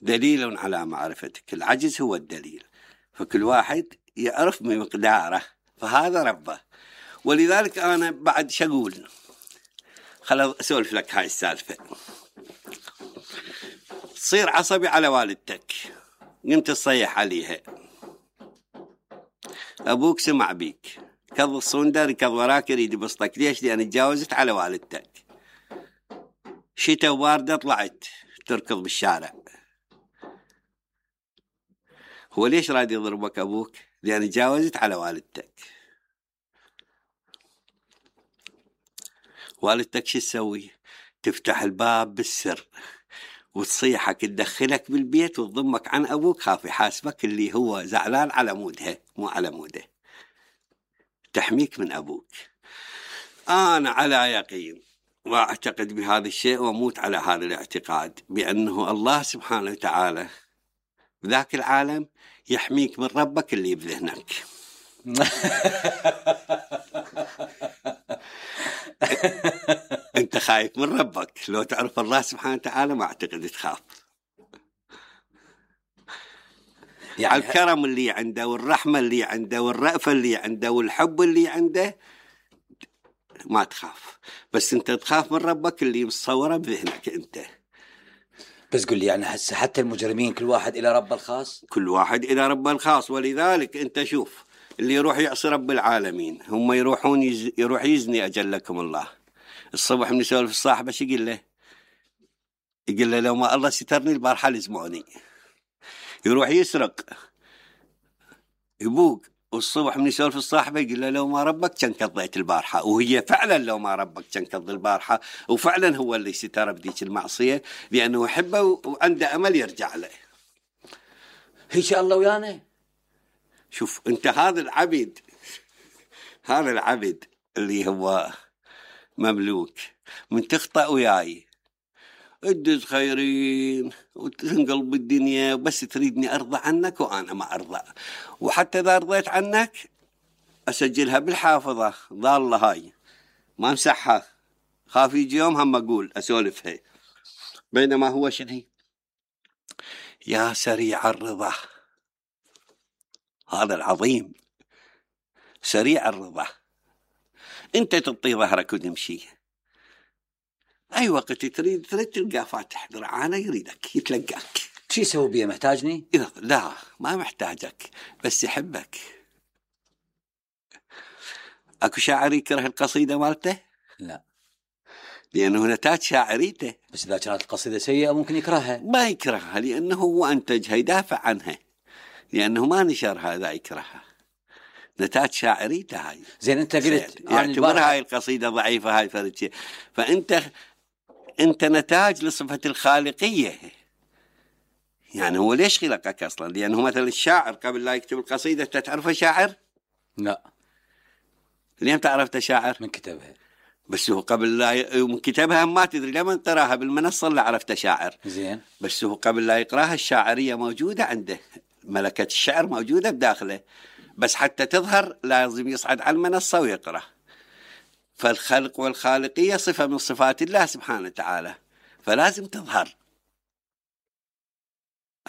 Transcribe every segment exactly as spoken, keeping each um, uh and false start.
دليل على معرفتك، العجز هو الدليل، فكل واحد يعرف بمقداره، فهذا ربه. ولذلك أنا بعد شقول، خل أسولف لك هاي السالفة. تصير عصبي على والدتك، قمت تصيح عليها، أبوك سمع بيك، كظ الصندر كظ وراك يريد يبسطك. ليش؟ لأن تجاوزت على والدتك. شتاء وباردة طلعت تركض بالشارع، هو ليش راد يضربك أبوك؟ لأن تجاوزت على والدتك. والدتك شو تسوي؟ تفتح الباب بالسر وتصيحك، تدخلك بالبيت وتضمك عن أبوك، خاف يحاسبك اللي هو زعلان على مودها مو على موده، تحميك من أبوك. أنا على يقين وأعتقد بهذا الشيء وأموت على هذا الاعتقاد، بأنه الله سبحانه وتعالى بذاك العالم يحميك من ربك اللي بذهنك. أنت خايف من ربك، لو تعرف الله سبحانه وتعالى ما أعتقد تخاف. يعني الكرم اللي عنده والرحمة اللي عنده والرأفة اللي عنده والحب اللي عنده ما تخاف، بس أنت تخاف من ربك اللي مصوره بذهنك أنت. بس قل لي يعني هسه حتى المجرمين كل واحد إلى ربه الخاص، كل واحد إلى ربه الخاص. ولذلك أنت شوف اللي يروح يعصي رب العالمين، هم يروحون يز... يروح يزني أجلكم الله. الصبح من يسولف الصاحب ايش يقول له؟ يقول له لو ما الله سترني البارحة لزموني. يروح يسرق يبوق، والصبح من يسولف الصاحبة يقول له لو ما ربك كان قضيت البارحة، وهي فعلا لو ما ربك كان قضي البارحة، وفعلا هو اللي ستر بديك المعصية لأنه يحبه وعنده أمل يرجع له. هيك الله ويانا. شوف أنت هذا العبد، هذا العبد اللي هو مملوك، من تخطأ وياي ادز خيرين وتنقلب الدنيا، بس تريدني أرضى عنك وأنا ما أرضى، وحتى إذا رضيت عنك أسجلها بالحافظة ضالة هاي ما امسحها، خاف يجي يوم هم أقول أسولفها. بينما هو شنو؟ يا سريع الرضا، هذا العظيم سريع الرضا. أنت تعطي ظهرك وتمشي، أي وقت تريد تريد تلقى فاتح ذراعانه يريدك يتلقاك. شو يسوي بيه؟ محتاجني؟ لا ما محتاجك، بس يحبك. أكو شاعر يكره القصيدة مالته؟ لا، لأنه نتاج شاعريته. بس إذا كانت القصيدة سيئة ممكن يكرهها. ما يكرهها لأنه هو أنتجها، يدافع عنها، لأنه ما نشرها إذا يكرهها. نتاج شاعريته هاي. زين أنت قلت يعتبر هاي القصيدة ضعيفة، هاي فرد، فأنت أنت نتاج لصفة الخالقية. يعني هو ليش خلقك أصلا؟ لأنه مثلا الشاعر قبل لا يكتب القصيدة تعرفه شاعر؟ لا. لين تعرفت شاعر؟ من كتبها. بس هو قبل لا من كتبها ما تدري، لما تراها بالمنصة اللي عرفت شاعر. زين. بس هو قبل لا يقراها الشاعرية موجودة عنده، ملكة الشعر موجودة بداخله، بس حتى تظهر لازم يصعد على المنصة ويقرأ. فالخلق والخالقية صفة من صفات الله سبحانه وتعالى، فلازم تظهر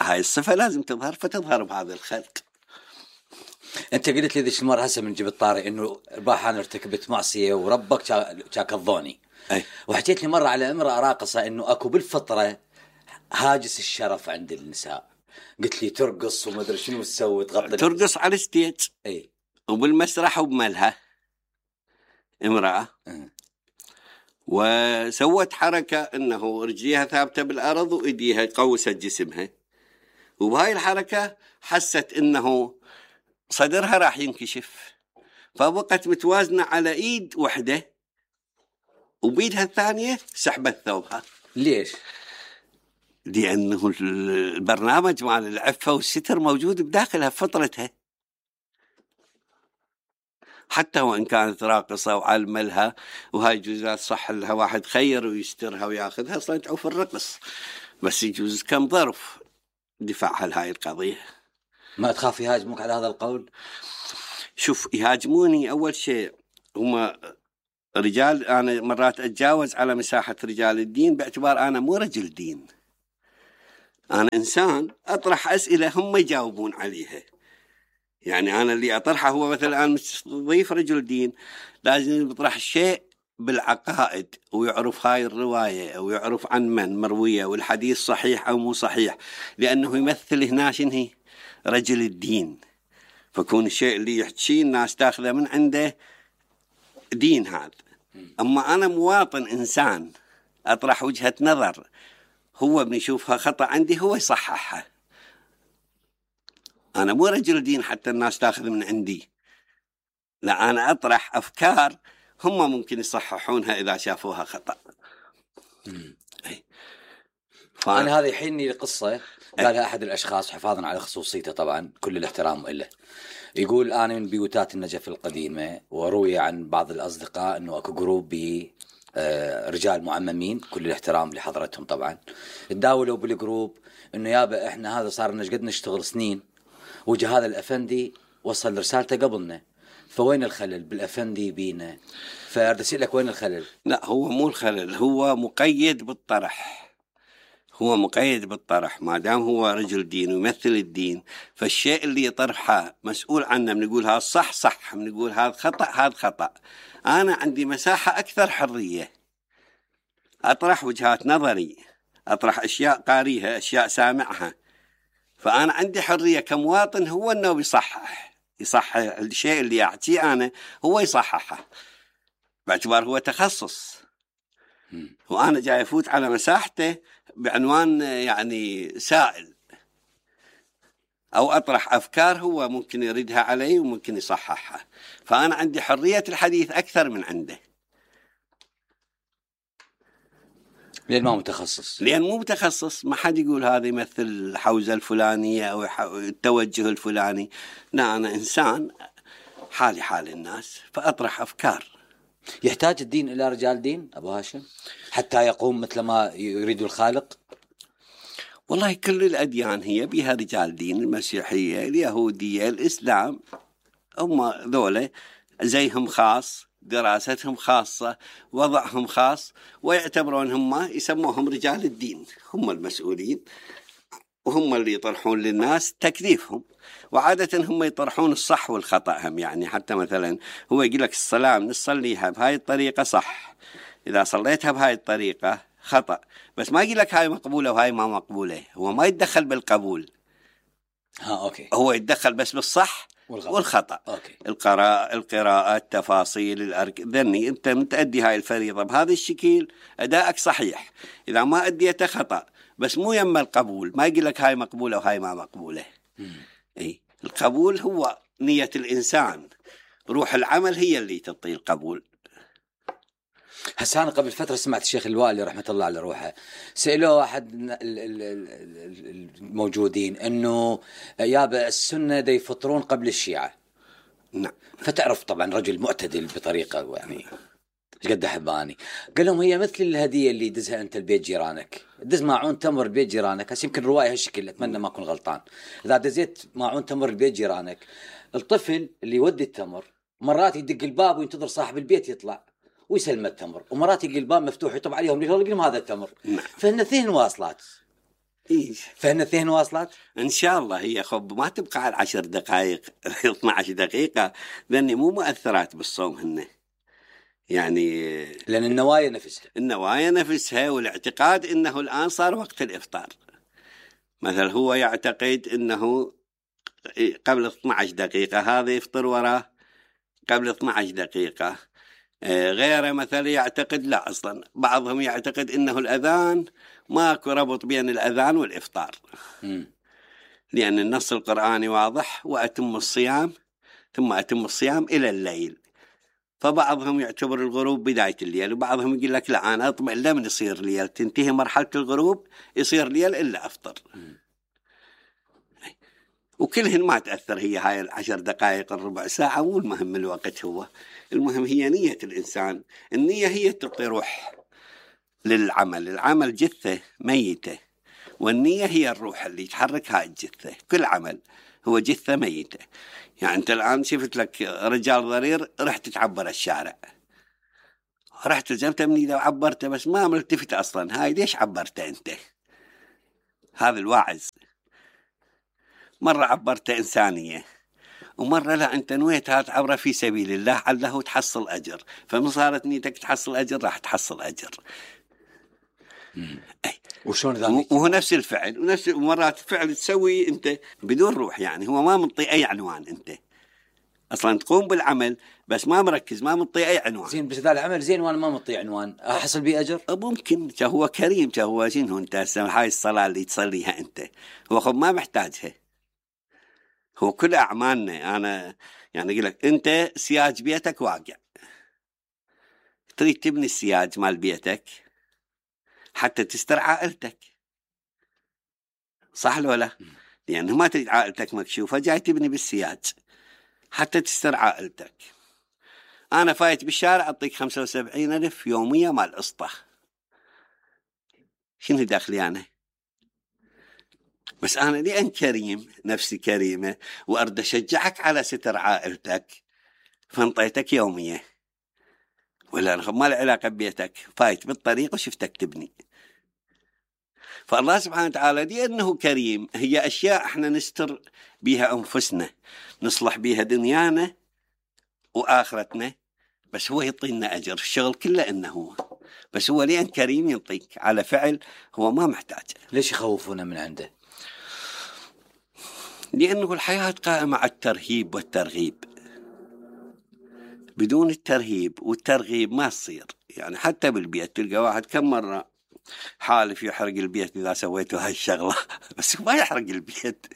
هاي الصفة، لازم تظهر، فتظهر بهذا الخلق. أنت قلت لي ذيك المرة هسه من جبت طاري إنه البارحة أنا ارتكبت معصية وربك شاك الظوني. أي. وحكيت لي مرة على امرأة راقصة إنه أكو بالفطرة هاجس الشرف عند النساء، قلت لي ترقص وما أدري شنو تسوي، تغطي ترقص على الستيج. أي. وبالمسرح وبملها امرأة أه. وسوت حركة إنه رجليها ثابتة بالأرض وإيديها قوست جسمها، وبهاي الحركة حست إنه صدرها راح ينكشف، فبقت متوازنة على إيد وحدة وبيدها الثانية سحبت ثوبها. ليش؟ لأنه البرنامج مال العفة والستر موجود بداخلها فطرتها، حتى وإن كانت راقصة وعلم لها، وهاي جزات صح لها واحد خير ويسترها وياخذها أصلا تعوف الرقص، بس يجوز كم ظرف دفاعها لهاي القضية. ما تخاف يهاجموك على هذا القول؟ شوف يهاجموني أول شيء هم رجال، أنا مرات أتجاوز على مساحة رجال الدين باعتبار أنا مو رجل دين، أنا إنسان أطرح أسئلة هم يجاوبون عليها. يعني أنا اللي أطرحه هو مثلا أنا مستضيف رجل دين، لازم يطرح شيء بالعقائد ويعرف هاي الرواية أو يعرف عن من مروية والحديث صحيح أو مو صحيح، لأنه يمثل هنا شنو رجل الدين. فكون الشيء اللي يحكيه الناس تاخذه من عنده دين هذا. أما أنا مواطن إنسان أطرح وجهة نظر هو بنشوفها خطأ عندي هو يصححها. أنا مو رجل دين حتى الناس تاخذ من عندي، لا أنا أطرح أفكار هم ممكن يصححونها إذا شافوها خطأ. ف... أنا هذا يحيني لقصة قالها أحد الأشخاص حفاظا على خصوصيته طبعا كل الاحترام له. يقول أنا من بيوتات النجف القديمة، وروي عن بعض الأصدقاء أنه أكو جروب ب رجال معممين كل الاحترام لحضرتهم طبعا، تداولوا بالجروب أنه يابا إحنا هذا صار لنا قد نشتغل سنين، وجه هذا الأفندي وصل رسالته قبلنا، فوين الخلل بالأفندي بينا؟ فأرد أسألك وين الخلل؟ لا هو مو الخلل، هو مقيد بالطرح. هو مقيد بالطرح ما دام هو رجل دين ويمثل الدين، فالشيء اللي يطرحه مسؤول عنه. بنقول هذا صح صح، بنقول هذا خطأ هذا خطأ. أنا عندي مساحة أكثر حرية، أطرح وجهات نظري، أطرح أشياء قاريها أشياء سامعها. فأنا عندي حرية كمواطن هو أنه بيصحح يصحح الشيء اللي أعطيه أنا، هو يصححه باعتبار هو تخصص. وأنا جاي أفوت على مساحته بعنوان يعني سائل، أو أطرح أفكار هو ممكن يردها علي وممكن يصححها. فأنا عندي حرية الحديث أكثر من عنده، لأن ما متخصص. لأن مو متخصص، ما حد يقول هذا يمثل الحوزة الفلانية أو التوجه الفلاني. لا أنا إنسان حالي حال الناس فأطرح أفكار. يحتاج الدين إلى رجال دين أبو هاشم حتى يقوم مثل ما يريد الخالق؟ والله كل الأديان هي بها رجال دين، المسيحية اليهودية الإسلام هم ذولا زيهم خاص، دراستهم خاصة، وضعهم خاص، ويعتبرون هم يسموهم رجال الدين. هم المسؤولين وهم اللي يطرحون للناس تكليفهم، وعادة هم يطرحون الصح والخطأ هم. يعني حتى مثلا هو يقول لك الصلاة نصليها بهاي الطريقة صح، إذا صليتها بهاي الطريقة خطأ، بس ما يقول لك هاي مقبولة وهاي ما مقبولة. هو ما يتدخل بالقبول، ها أوكي، هو يتدخل بس بالصح والخطأ, والخطأ. أوكي. القراءة القراءة التفاصيل الأرك ذني أنت متأدي هاي الفريضة بهذا الشكل أداءك صحيح، إذا ما أديته خطأ، بس مو يم القبول. ما يقول لك هاي مقبولة وهاي ما مقبولة. أي القبول هو نية الإنسان، روح العمل هي اللي تعطي القبول. هسه أنا قبل فترة سمعت الشيخ الوالي رحمة الله على روحه سألوه واحد الموجودين أنه يابا السنة دي يفطرون قبل الشيعة. نعم. فتعرف طبعا رجل معتدل بطريقة يعني قد حباني. قال لهم هي مثل الهدية اللي دزها أنت البيت جيرانك، دز ماعون تمر البيت جيرانك. هسه يمكن رواية هالشكل، أتمنى ما أكون غلطان. إذا دزيت ماعون تمر البيت جيرانك، الطفل اللي يودي التمر مرات يدق الباب وينتظر صاحب البيت يطلع ويسلم التمر، ومرات يلقي الباب مفتوح يطب عليهم يقول لهم هذا التمر. نعم. فإن اثنين واصلات. إيه. فإن اثنين واصلات إن شاء الله. هي خب ما تبقى على عشر دقائق اثنا عشر دقيقة، لأني مو مؤثرات بالصوم هن. يعني لأن النوايا نفسها النوايا نفسها والاعتقاد إنه الآن صار وقت الإفطار. مثلا هو يعتقد إنه قبل اثنا عشر دقيقة هذا يفطر وراه قبل اثنا عشر دقيقة. غيره مثلا يعتقد لا، أصلا بعضهم يعتقد إنه الأذان ماكو ربط بين الأذان والإفطار. م. لأن النص القرآني واضح، وأتم الصيام ثم أتم الصيام إلى الليل. فبعضهم يعتبر الغروب بداية الليل، وبعضهم يقول لك لا أنا أطمئن لمن يصير ليل، تنتهي مرحلة الغروب يصير ليل إلا أفطر. م. وكلهن ما تأثر هي هاي العشر دقائق الربع ساعة، مو المهم الوقت، هو المهم هي نية الإنسان. النية هي تعطي روح للعمل. العمل جثة ميتة، والنية هي الروح اللي تحرك هاي الجثة. كل عمل هو جثة ميتة. يعني أنت الآن شفت لك رجال ضرير رحت تعبر الشارع، رحت جبت مني إذا عبرته بس ما ملتفت أصلا، هاي ليش عبرته أنت؟ هذا الواعظ مرة عبرته إنسانية، ومرة لا أنت نويتها تعبره في سبيل الله عله تحصل أجر، فمن صارت نيتك تحصل أجر راح تحصل أجر. أي. وشون ذلك؟ وهو نفس الفعل، ونفس مرات الفعل تسوي أنت بدون روح، يعني هو ما منطي أي عنوان، أنت أصلا تقوم بالعمل بس ما مركز، ما منطي أي عنوان. زين بس هذا العمل زين وأنا ما منطي عنوان، أحصل بيه أجر؟ ممكن، هو كريم، هو شنو أنت هاي الصلاة اللي تصليها أنت هو خب ما محتاجها، هو كل أعمالنا. أنا يعني أقول لك أنت سياج بيتك واقع، تريد تبني السياج مال بيتك حتى تستر عائلتك، صح لو لا؟ لأنه ما تريد عائلتك مكشوفة، جاي تبني بالسياج حتى تستر عائلتك. أنا فايت بالشارع أعطيك خمسة وسبعين ألف يومية مال قسطة، شنو دخلي أنا؟ بس أنا لأن كريم، نفسي كريمة، وأرد أشجعك على ستر عائلتك فانطيتك يومية، ولا أنا ما له علاقة ببيتك، فايت بالطريق وشفتك تبني. فالله سبحانه وتعالى لأنه كريم هي أشياء احنا نستر بها أنفسنا، نصلح بها دنيانا وآخرتنا، بس هو يعطينا أجر، الشغل كله إنه هو، بس هو لأن كريم يعطيك على فعل هو ما محتاج. ليش يخوفونا من عنده؟ لأنه الحياة قائمة على الترهيب والترغيب، بدون الترهيب والترغيب ما تصير. يعني حتى بالبيت تلقى واحد كم مرة حالف يحرق البيت إذا سويته هالشغلة بس ما يحرق البيت.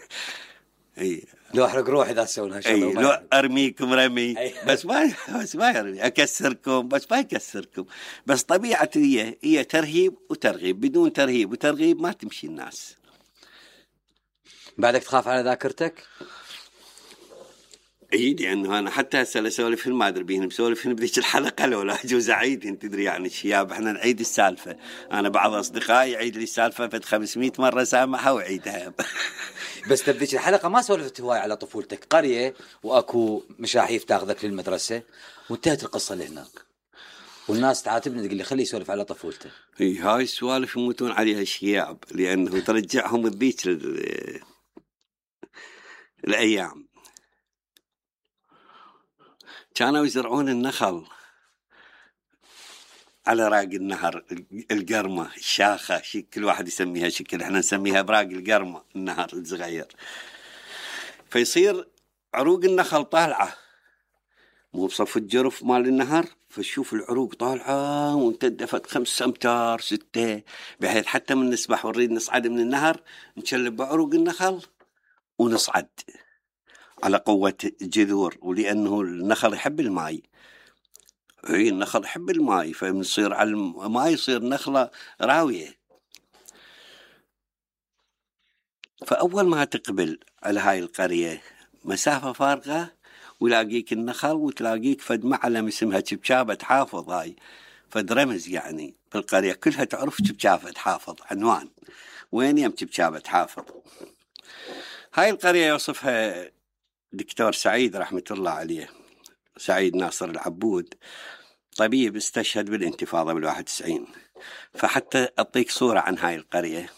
اي لو احرق روحي اذا سوينا هالشغلة، لو ارميكم رمي بس ما بس ما يرمي، اكسركم بس ما يكسركم. بس طبيعة هي هي ترهيب وترغيب، بدون ترهيب وترغيب ما تمشي الناس. بعدك تخاف على ذاكرتك؟ اي لانه انا حتى هسه اسولف ما ادري بيهم مسولف بذيك الحلقه لو لا اجوز اعيد، انت تدري يعني الشياب احنا نعيد السالفه، انا بعض اصدقائي يعيد لي السالفه فد خمسمية مره سامحها وعيدها. بس تبديك الحلقه ما سولفت هواي على طفولتك، قريه واكو مشاحيف تاخذك للمدرسه وانتهت القصه لهناك، والناس تعاتبني تقول لي خليه يسولف على طفولته. اي هاي السوالف يموتون عليها الشياب لانه ترجعهم بذيك الايام. كانوا يزرعون النخل على راق النهر، القرمة الشاخة، شكل كل واحد يسميها شكل، احنا نسميها براق القرمة النهر الصغير. فيصير عروق النخل طالعة مو بصف الجرف مال النهر، فشوف العروق طالعة ومتدفت خمس امتار ستة، بحيث حتى من نسبح ونريد نصعد من النهر نشلب بعروق النخل ونصعد على قوة جذور، ولأنه النخل يحب الماء. اي النخل يحب الماء، فبنصير على الماء يصير نخلة راوية. فأول ما تقبل على هاي القرية مسافة فارغة ولاقيك النخل، وتلاقيك فد معلم اسمها شبشابة حافظ، هاي فد رمز يعني بالقرية كلها تعرف شبشابة حافظ، عنوان وين يم شبشابة حافظ. هاي القرية يوصفها دكتور سعيد رحمة الله عليه، سعيد ناصر العبود، طبيب استشهد بالانتفاضة بالواحد وتسعين. فحتى أعطيك صورة عن هاي القرية،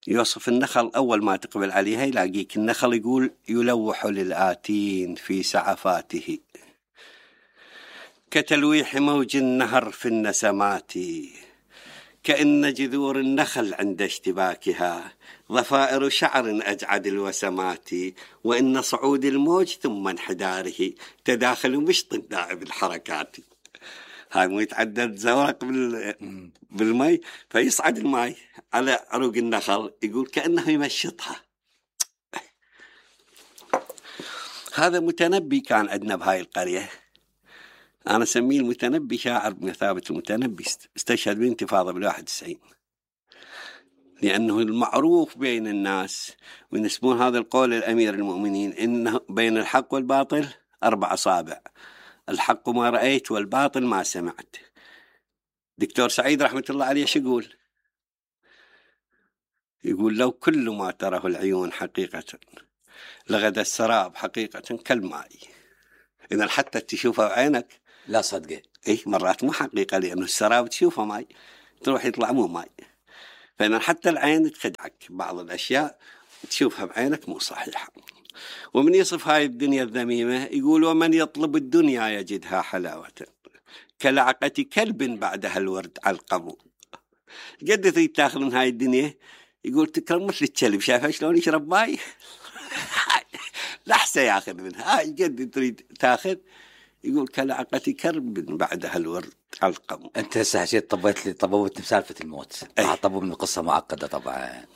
يوصف النخل أول ما تقبل عليها يلاقيك النخل يقول يلوح للآتين في سعفاته كتلويح موج النهر في النسمات، كأن جذور النخل عند اشتباكها ضفائر شعر أجعد الوسمات، وإن صعود الموج ثم انحداره تداخل مشط دائب الحركات. هاي مو يتعدد زورق بالماء، فيصعد الماء على عروق النخل يقول كأنه يمشطها. هذا متنبي كان عندنا بهاي القرية، أنا أسميه المتنبي، شاعر بمثابة المتنبي، استشهد بالانتفاضة بالواحد وتسعين، لأنه المعروف بين الناس وينسبون هذا القول الأمير المؤمنين إنه بين الحق والباطل أربع أصابع، الحق ما رأيت والباطل ما سمعت. دكتور سعيد رحمة الله عليه شو يقول؟ يقول لو كل ما تراه العيون حقيقة لغدا السراب حقيقة كالماء. إذا حتى تشوفه بعينك لا صدقه، إيه مرات مو حقيقة، لأنه السراب تشوفه ماي تروح يطلع مو ماي. فإن حتى العين تخدعك بعض الأشياء تشوفها بعينك مو صحيحة. ومن يصف هاي الدنيا الذميمة يقول ومن يطلب الدنيا يجدها حلاوة كلعقة كلب بعدها الورد علقم. قد تريد تاخذ من هاي الدنيا يقول تكرم مثل الكلب شايفها شلون يشرب ماي لحسة ياخذ منها. هاي قد تريد تاخذ يقول كلعقة كلب بعدها الورد علقم. انت هسه حكيت طبيت لي طبوت بسالفة الموت. راح طبوا من القصة معقدة طبعا.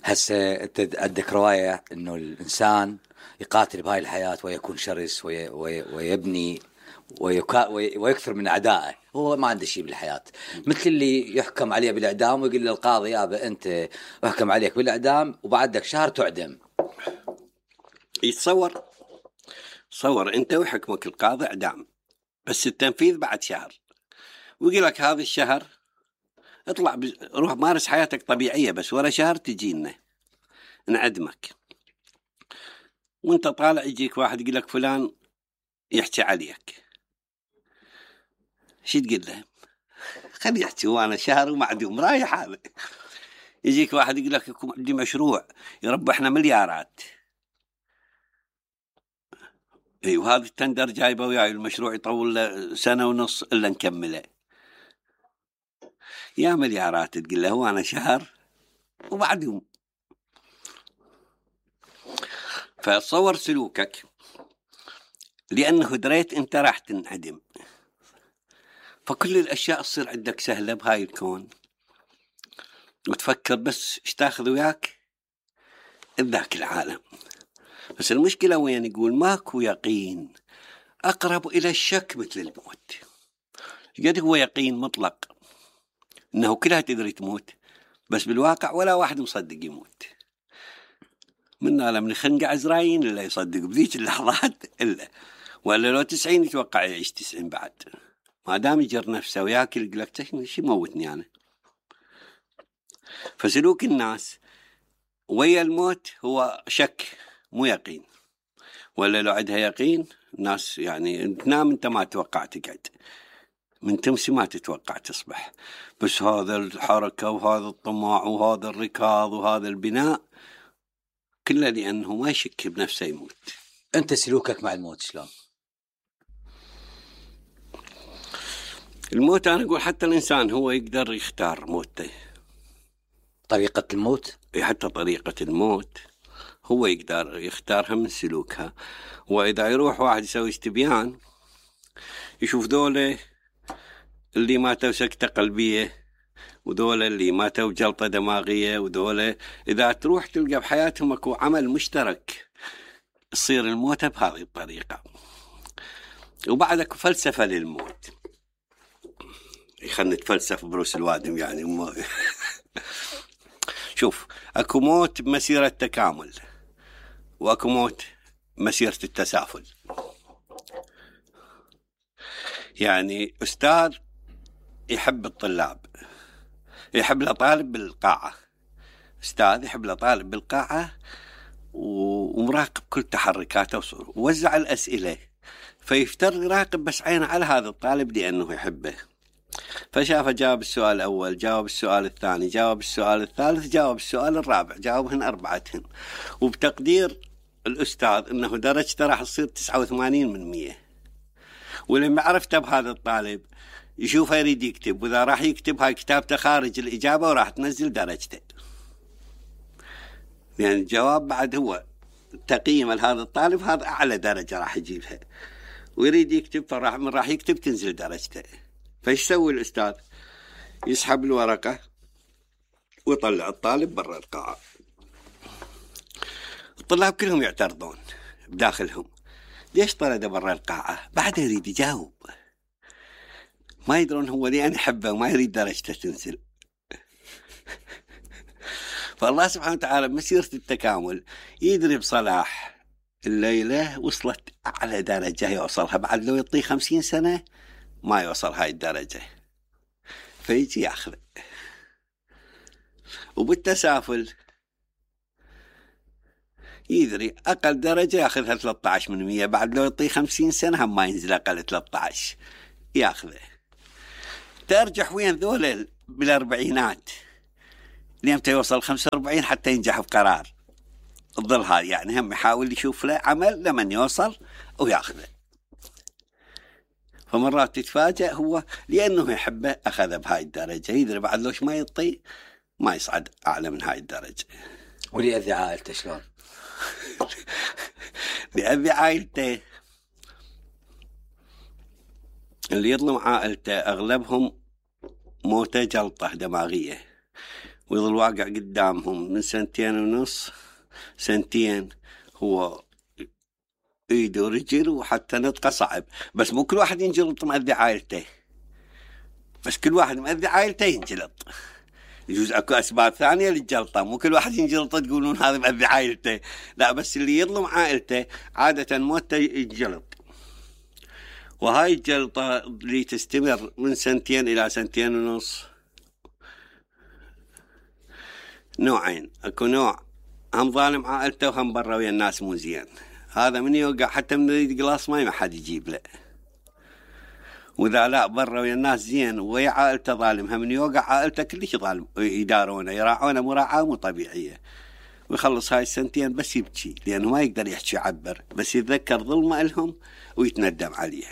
هسه انت عندك رواية انه الانسان يقاتل بهاي الحياة ويكون شرس وي وي ويبني ويكا وي ويكثر من اعدائه. هو ما عنده شيء بالحياة. مثل اللي يحكم عليه بالاعدام ويقول للقاضي يابا انت احكم عليك بالاعدام وبعدك شهر تعدم. يتصور صور انت وحكمك القاضي اعدام بس التنفيذ بعد شهر ويقول لك هذا الشهر اطلع بز... روح مارس حياتك طبيعية بس ولا شهر تجينا نعدمك. وانت طالع يجيك واحد يقول لك فلان يحكي عليك شو تقول له؟ خلي يحكي وانا شهر ومعدوم رايح. هذا يجيك واحد يقول لك يكون عندي مشروع يربحنا مليارات اي وهذا التندر جايبه وياي المشروع يطول له سنة ونص الا نكمله يا مليارات تقول له وانا شهر ومعدوم. فتصور سلوكك لأنه دريت أنت راح تنعدم فكل الأشياء تصير عندك سهلة بهاي الكون وتفكر بس ايش تاخذ وياك ذاك العالم. بس المشكلة وين يقول ماكو يقين أقرب إلى الشك مثل الموت. قد هو يقين مطلق إنه كلها تدري تموت بس بالواقع ولا واحد مصدق يموت. منا لم نخنق عزراين إلا يصدق بذيك اللحظات إلا ولا لو تسعين يتوقع يعيش تسعين بعد ما دام يجر نفسه وياكل يقول لك شي موتني أنا. فسلوك الناس ويا الموت هو شك مو يقين. ولا لو عندها يقين الناس يعني تنام انت ما تتوقع تقعد من تمسي ما تتوقع تصبح بس هذا الحركة وهذا الطماع وهذا الركاض وهذا البناء كله لأنه ما يشك بنفسه يموت. أنت سلوكك مع الموت شلون؟ الموت أنا أقول حتى الإنسان هو يقدر يختار موته. طريقة الموت؟ حتى طريقة الموت هو يقدر يختارها من سلوكها. وإذا يروح واحد يسوي استبيان يشوف دولة اللي ماتوا سكتة قلبية ودولة اللي ماتوا جلطة دماغية ودولة إذا تروح تلقى بحياتهم اكو عمل مشترك تصير الموت بهذه الطريقة. وبعدك فلسفة للموت خلنا نتفلسف بروس الوادم يعني ما شوف اكو موت مسيرة تكامل واكو موت مسيرة التسافل. يعني أستاذ يحب الطلاب يحب الطالب بالقاعة أستاذ يحب الطالب بالقاعة ومراقب كل تحركاته وصوره ووزع الأسئلة فيفتر يراقب بس عينه على هذا الطالب لأنه يحبه فشافه جاوب السؤال الأول جاوب السؤال الثاني جاوب السؤال الثالث جاوب السؤال الرابع جاوبهن أربعتهن وبتقدير الأستاذ أنه درجته راح تصير تسعة وثمانين من مية. ولما عرفته بهذا الطالب يشوفه يريد يكتب وإذا راح يكتب هاي كتابته خارج الإجابة وراح تنزل درجته. يعني الجواب بعد هو تقييم لهذا الطالب هذا أعلى درجة راح يجيبها ويريد يكتب فراح من راح يكتب تنزل درجته. فايش يسوي الأستاذ؟ يسحب الورقة ويطلع الطالب برا القاعة. الطلاب كلهم يعترضون بداخلهم ليش طرده برا القاعة؟ بعد يريد يجاوب ما يدرون هو ليه أنا يحبه وما يريد درجته تنزل. فالله سبحانه وتعالى بمسيرة التكامل يدري بصلاح الليلة وصلت أعلى درجة يوصلها بعد لو يعطيه خمسين سنة ما يوصل هاي الدرجة فيجي ياخذ. وبالتسافل يدري أقل درجة ياخذها ثلاثة عشر من مية بعد لو يعطيه خمسين سنة هم ما ينزل أقل ثلاثة عشر ياخذه. ترجح وين ذول بالأربعينات لمتى يوصل خمسة وأربعين حتى ينجح بقرار الظل هاي، يعني هم يحاول يشوف له عمل لمن يوصل وياخذه. فمرات تتفاجأ هو لأنه يحبه أخذه بهاي الدرجة، يدري بعد لوش ما يطي ما يصعد أعلى من هاي الدرجة. واللي يأذي عائلته شلون؟ يأذي عائلته، اللي يظلم عائلته أغلبهم موته جلطة دماغية، ويظل واقع قدامهم من سنتين ونص سنتين، هو ايده ورجل وحتى نطقه صعب. بس مو كل واحد ينجلط مأذي عائلته، بس كل واحد مأذي عائلته ينجلط. يجوز اكو اسباب ثانيه للجلطه، مو كل واحد ينجلط تقولون هذا مأذي عائلته، لا، بس اللي يظلم عائلته عاده موته ينجلط. وهاي الجلطه اللي تستمر من سنتين الى سنتين ونص نوعين، اكو نوع هم ظالم عائلته وهم برا ويا الناس مو زين، هذا من يوقع حتى من يريد قلاص ماي ما حد يجيب له. واذا لا برا ويا الناس زين ويا عائلته ظالمها، من يوقع عائلته كلش ظالم، يدارونه يراعونه مراعاه مو طبيعيه، ويخلص هاي السنتين بس يبكي لانه ما يقدر يحكي يعبر، بس يتذكر ظلمه لهم ويتندم عليه.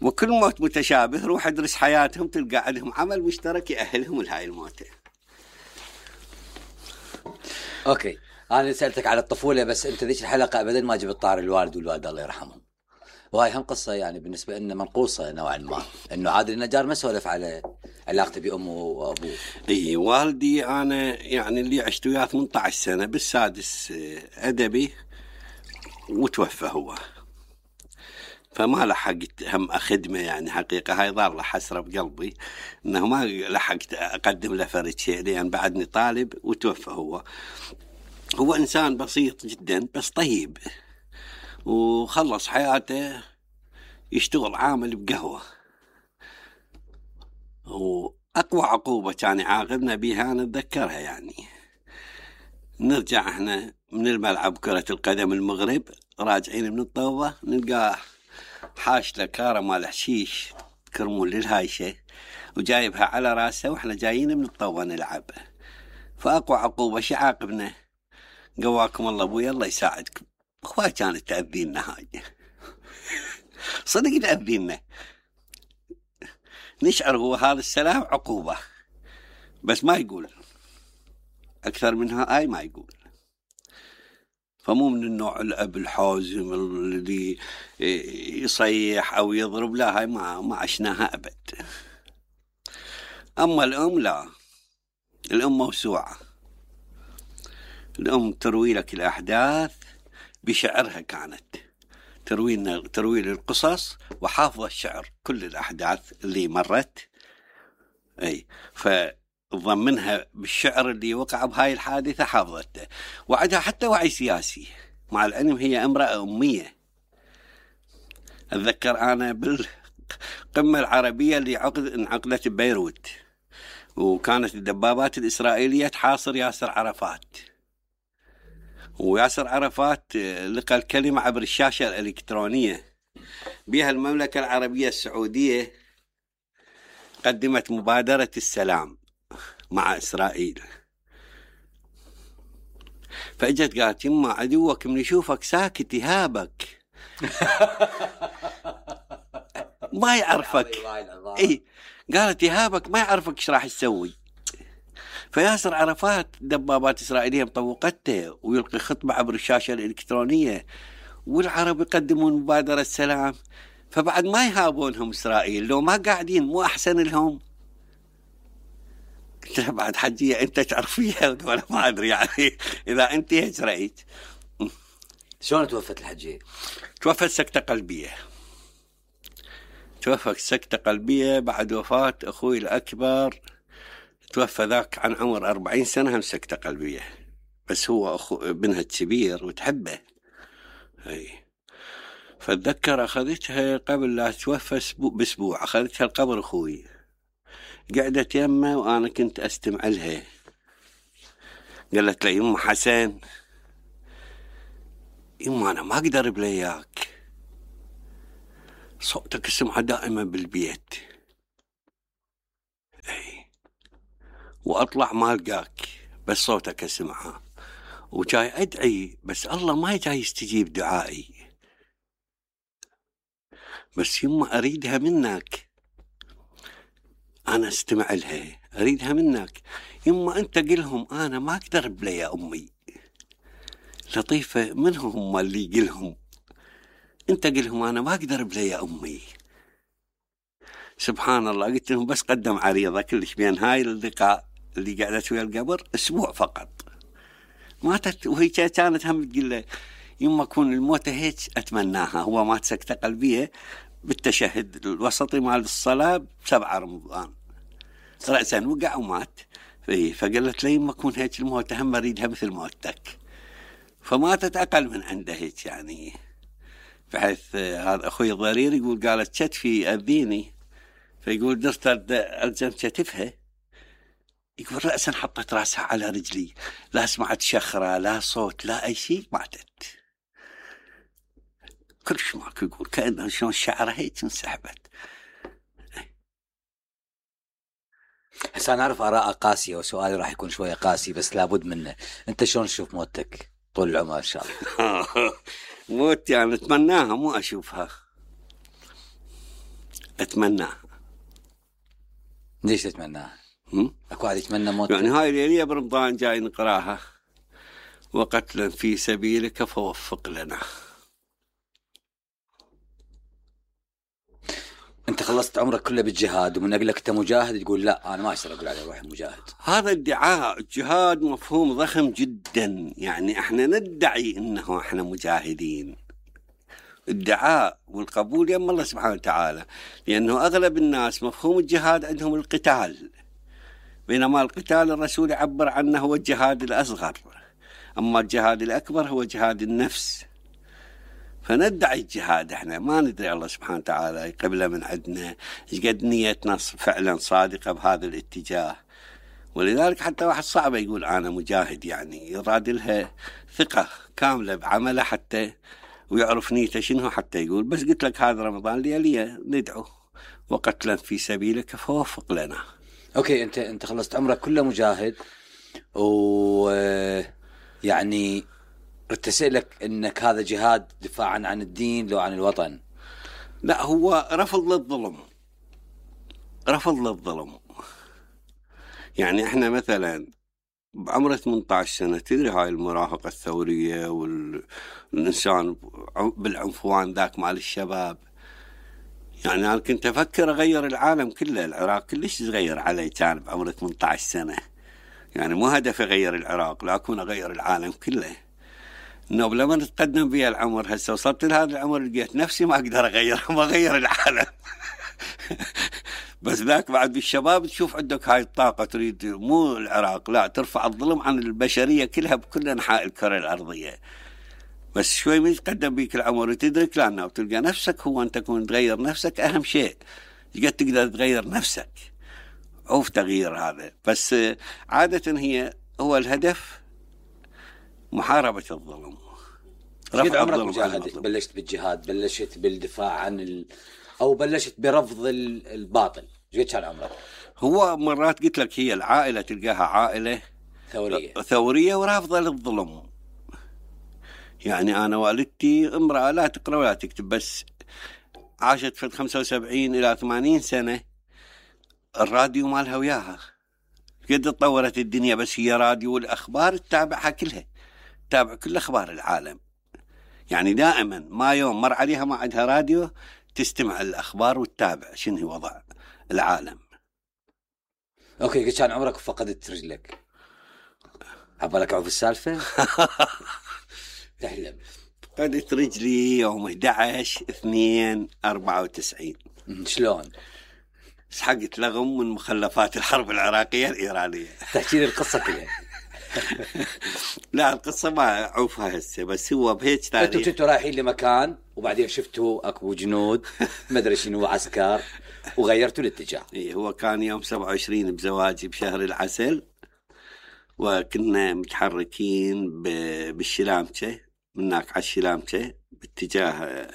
وكل موت متشابه، روح ادرس حياتهم تلقى عندهم عمل مشترك يأهلهم لهاي الموتة. اوكي، انا سألتك على الطفولة، بس انت ذيك الحلقة ابدا ما جبت طار الوالد والوالدة الله يرحمهم، وهاي هم قصة يعني بالنسبة لنا منقوصة نوعا ما، انه عادل النجار ما سولف على علاقته بأمه وأبوه. اي والدي انا يعني اللي عشت وياه ثمانية عشر سنة، بالسادس ادبي وتوفى هو، فما لحقت هم أخدمه يعني حقيقة. هاي ضار له حسرة بقلبي إنه ما لحقت أقدم له فرد شيء، لأن بعدني طالب وتوفى هو. هو إنسان بسيط جدا بس طيب، وخلص حياته يشتغل عامل بقهوة، وأقوى عقوبة كان يعاقبنا بها نتذكرها، يعني نرجع احنا من الملعب كرة القدم المغرب راجعين من الطوبة نلقاه حاش له كارة مال حشيش كرمون للهايشة وجايبها على راسه، واحنا جايين من الطوبة نلعب. فأقوى عقوبة شي عاقبنا، قواكم الله ابويا الله يساعدكم. اخوة كانت تأذينا هاي صدق تأذينا، نشعر هو هذا السلام عقوبة، بس ما يقول أكثر منها، آي ما يقول. فمو من النوع الأب الحازم الذي يصيح أو يضرب، لا، هاي ما ما عشناها أبد. أما الأم لا، الأم موسوعة، الأم تروي لك الأحداث بشعرها، كانت تروي لنا تروي القصص وحافظة الشعر كل الأحداث اللي مرت، أي فضمنها بالشعر اللي وقع بهاي الحادثة حافظته، وعدها حتى وعي سياسي، مع العلم هي امرأة أمية. أتذكر أنا بالقمة العربية اللي عقد انعقدت ببيروت، وكانت الدبابات الإسرائيلية تحاصر ياسر عرفات، وياسر عرفات لقى الكلمة عبر الشاشة الإلكترونية بها المملكة العربية السعودية قدمت مبادرة السلام مع إسرائيل. فأجت قالت يما عدوك من يشوفك ساكت يهابك ما يعرفك. اي قالت يهابك ما يعرفك ايش راح تسوي. فياسر عرفات دبابات إسرائيلية مطوقته ويلقي خطبة عبر الشاشة الإلكترونية، والعرب يقدمون مبادرة السلام، فبعد ما يهابونهم إسرائيل لو ما قاعدين مو أحسن لهم. قلت لها بعد حجية أنت تعرفيها ولا ما أدري، يعني إذا أنت هيك رأيت. شلون توفت الحجية؟ توفت سكتة قلبية، توفت سكتة قلبية بعد وفاة أخوي الأكبر، توفى ذاك عن عمر أربعين سنة هم سكتة قلبية، بس هو أخو ابنها الكبير وتحبه. هي فاتذكر أخذتها قبل لا توفى بأسبوع، أخذتها القبر أخوي، قعدت يمه وأنا كنت أستمع لها. قالت لي يما حسن، يما أنا ما أقدر بلياك، صوتك اسمعه دائما بالبيت، وأطلع ما ألقاك بس صوتك أسمعه، وجاي أدعي بس الله ما جاي يستجيب دعائي، بس يما أريدها منك، أنا استمع لها أريدها منك يما، أنت قلهم أنا ما أقدر بلا يا أمي. لطيفة، من هم اللي قلهم؟ أنت قلهم أنا ما أقدر بلا يا أمي. سبحان الله، قلت لهم بس قدم عريضة كلش بين هاي اللقاء اللي قعدت ويا القبر أسبوع فقط، ماتت وهي كانت هم تقول له يما كون الموت هيك أتمناها. هو مات سكتة قلبية بالتشهد الوسطي مال الصلاة بسبعة رمضان، رأسا وقع ومات. فقالت لي يما كون هيك الموت هم أريدها مثل موتك، فماتت أقل من عنده هيك يعني. بحيث هذا أخوي الضرير يقول قالت كتفي أذيني، فيقول درت ألزم كتفها، يقول رأسا حطت رأسها على رجلي، لا سمعت شخرة لا صوت لا أي شيء، ماتت كلش ماكو. يقول كأنه شلون الشعرة هيك انسحبت. هسه أنا أعرف آراء قاسية وسؤالي راح يكون شوية قاسي بس لابد منه. أنت شلون تشوف موتك طول العمر إن شاء الله؟ موت يعني أتمناها مو أشوفها، أتمناها. ليش تتمناها؟ أكو واحد يتمنى موت؟ يعني هاي الليلة برمضان جاي نقراها، وقتلا في سبيلك فوفق لنا. أنت خلصت عمرك كله بالجهاد، ومن أقولك أنت مجاهد تقول لا أنا ما أقدر أقول عليه روحي مجاهد. هذا ادعاء. الجهاد مفهوم ضخم جدا، يعني احنا ندعي انه احنا مجاهدين. الدعاء والقبول يم الله سبحانه وتعالى، لأنه أغلب الناس مفهوم الجهاد عندهم القتال، بينما القتال الرسول يعبر عنه هو الجهاد الأصغر، أما الجهاد الأكبر هو جهاد النفس. فندعي الجهاد، احنا ما ندري الله سبحانه وتعالى يقبله من عندنا قد نيتنا فعلا صادقة بهذا الاتجاه. ولذلك حتى واحد صعب يقول أنا مجاهد، يعني يراد لها ثقة كاملة بعمله حتى ويعرف نيته شنو حتى يقول. بس قلت لك هذا رمضان لياليه ندعو وقتلا في سبيلك فوفق لنا. اوكي، انت انت خلصت عمرك كله مجاهد، و يعني ارتسلك انك هذا جهاد دفاعا عن الدين لو عن الوطن. لا، هو رفض للظلم، رفض للظلم. يعني احنا مثلا بعمر ثمانية عشر سنة، تدري هاي المراهقة الثورية والإنسان بالعنفوان ذاك مال الشباب، يعني أنا كنت أفكر أغير العالم كله. العراق كلش صغير علي كان بعمر ثمانية عشر سنة، يعني مو هدف أغير العراق لكن أغير العالم كله. إنه لما نتقدم بي العمر هسه وصلت لهذا العمر لقيت نفسي ما أقدر أغير ما أغير العالم. بس ذاك بعد بالشباب تشوف عندك هاي الطاقة، تريد مو العراق لا، ترفع الظلم عن البشرية كلها بكل أنحاء الكرة الأرضية. بس شوي من يتقدم بيك العمر وتدرك لأنه وتلقى نفسك هو أن تكون تغير نفسك أهم شيء، قد تقدر تغير نفسك. عوف تغيير هذا، بس عادة هي هو الهدف محاربة الظلم. رفع عمرك مجاهد، بلشت بالجهاد، بلشت بالدفاع عن ال... أو بلشت برفض الباطل، قد كان عمرك؟ هو مرات قلت لك هي العائلة تلقاها عائلة ثورية ثورية ورافضة للظلم. يعني أنا والدتي امرأة لا تقرأ ولا تكتب، بس عاشت في خمسة وسبعين إلى ثمانين سنة، الراديو مالها وياها قد تطورت الدنيا، بس هي راديو والأخبار تتابعها كلها، تتابع كل أخبار العالم. يعني دائما ما يوم مر عليها ما عندها راديو تستمع الأخبار وتتابع شنو وضع العالم. أوكي، قد كان عمرك وفقدت رجلك؟ عبالك عوف السالفة؟ تحلم. فقدت رجلي يوم أحد عشر اثنين أربعة وتسعين. شلون؟ سحقت لغم من مخلفات الحرب العراقية الإيرانية. تحكي لي القصة كلها. لا القصة ما أعوفها هسه، بس هو بهيك تاريخ. أنتوا كنتوا رايحين لمكان وبعدين شفتوا أكو جنود ما أدري شنو عسكر وغيرتوا الاتجاه. إيه، هو كان يوم سبعة وعشرين بزواجي بشهر العسل، وكنا متحركين بالشلامشة، مناك على الشلامشة باتجاه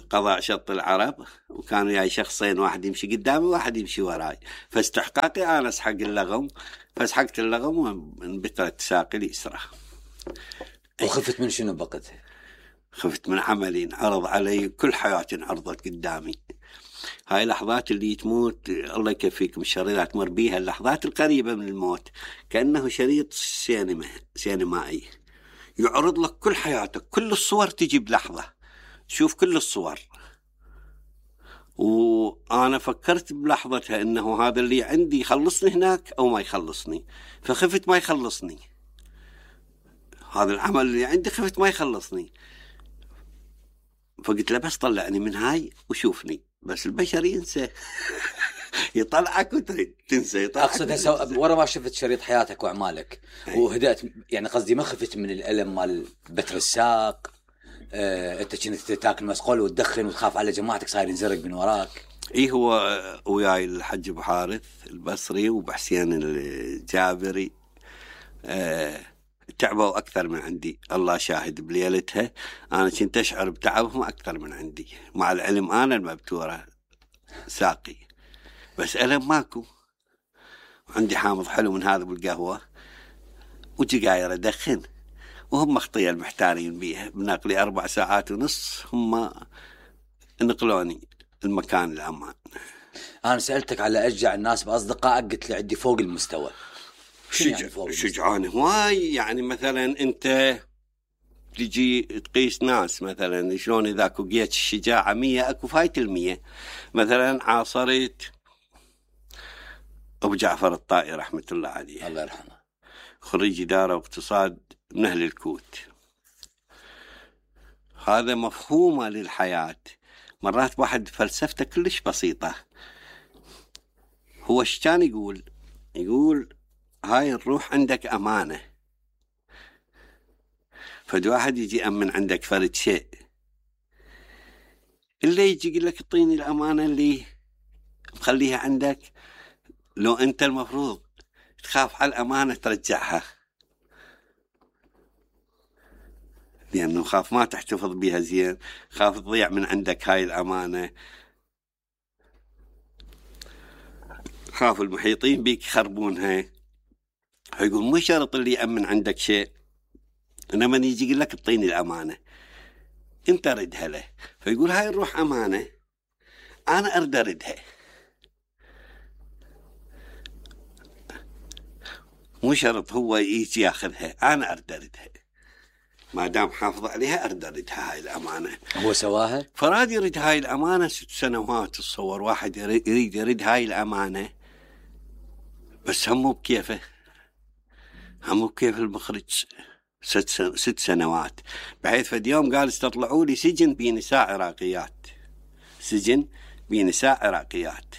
قضاء شط العرب، وكانوا وياي شخصين، واحد يمشي قدامي وواحد يمشي وراي، فاستحقاقي انا اسحق اللغم، فسحقت اللغم وانبترت ساقي اليسرى. وخفت من شنو بقتها؟ خفت من عملي انعرض علي، كل حياتي انعرضت قدامي. هاي لحظات اللي تموت الله يكفيكم الشر اذا تمر بيها، اللحظات القريبة من الموت كأنه شريط سينما سينمائي يعرض لك كل حياتك، كل الصور تجي بلحظة، شوف كل الصور. وأنا فكرت بلحظتها إنه هذا اللي عندي يخلصني هناك أو ما يخلصني، فخفت ما يخلصني. هذا العمل اللي عندي خفت ما يخلصني، فقلت له بس طلعني من هاي وشوفني. بس البشر ينسى يطلعك وتريد تنسى يطلعك. أقصد سو... ورا ما شفت شريط حياتك وأعمالك وهدأت، يعني قصدي ما خفت من الألم مال بتر الساق؟ آه، أنت كنت تاكل مسقول وتدخن وتخاف على جماعتك صاير ينزرق من وراك. إيه هو وياي الحج أبو حارث البصري وبحسين الجابري آه تعبوا أكثر من عندي، الله شاهد بليلتها أنا كنت أشعر بتعبهم أكثر من عندي، مع العلم أنا المبتورة ساقي بس ألم ماكو. عندي حامض حلو من هذا بالقهوة وجقاير أدخن، وهم مخطية المحتارين بيها. بنقلي أربع ساعات ونص هم نقلوني المكان الأمان. أنا سألتك على أشجع الناس بأصدقائك، قلت لي عندي فوق المستوى. شجع يعني شجعان هواي. يعني مثلا أنت تجي تقيس ناس مثلا شلون إذا كوقيت الشجاعة مية أكو فايت المية. مثلا عاصرت أبو جعفر الطائي رحمة الله عليه، الله يرحمه، خريج إدارة واقتصاد من أهل الكوت. هذا مفهومه للحياة. مرات واحد فلسفته كلش بسيطة. هو ايش كان يقول؟ يقول هاي الروح عندك أمانة، فد واحد يجي أمن عندك فرد شيء، اللي يجي يقول لك اعطيني الأمانة اللي مخليها عندك، لو أنت المفروض تخاف على الأمانة ترجعها، لأنه خاف ما تحتفظ بها زين، خاف تضيع من عندك هاي الأمانة، خاف المحيطين بيك يخربونها. فيقول مو شرط اللي يأمن عندك شيء، إنما يجي يقول لك اعطيني الأمانة أنت ردها له. فيقول هاي الروح أمانة أنا أرد أردها، مو شرط هو يجي ياخذها، أنا أرد أردها، ما دام حافظ عليها أرد أردها هاي الأمانة. هو سواها. فراد يريد هاي الأمانة ست سنوات. تصور واحد يريد يريد هاي الأمانة بس همه بكيفه، همه بكيف المخرج. ست, سن... ست سنوات بحيث فد يوم قال استطلعوا لي سجن بنساء عراقيات، سجن بنساء عراقيات.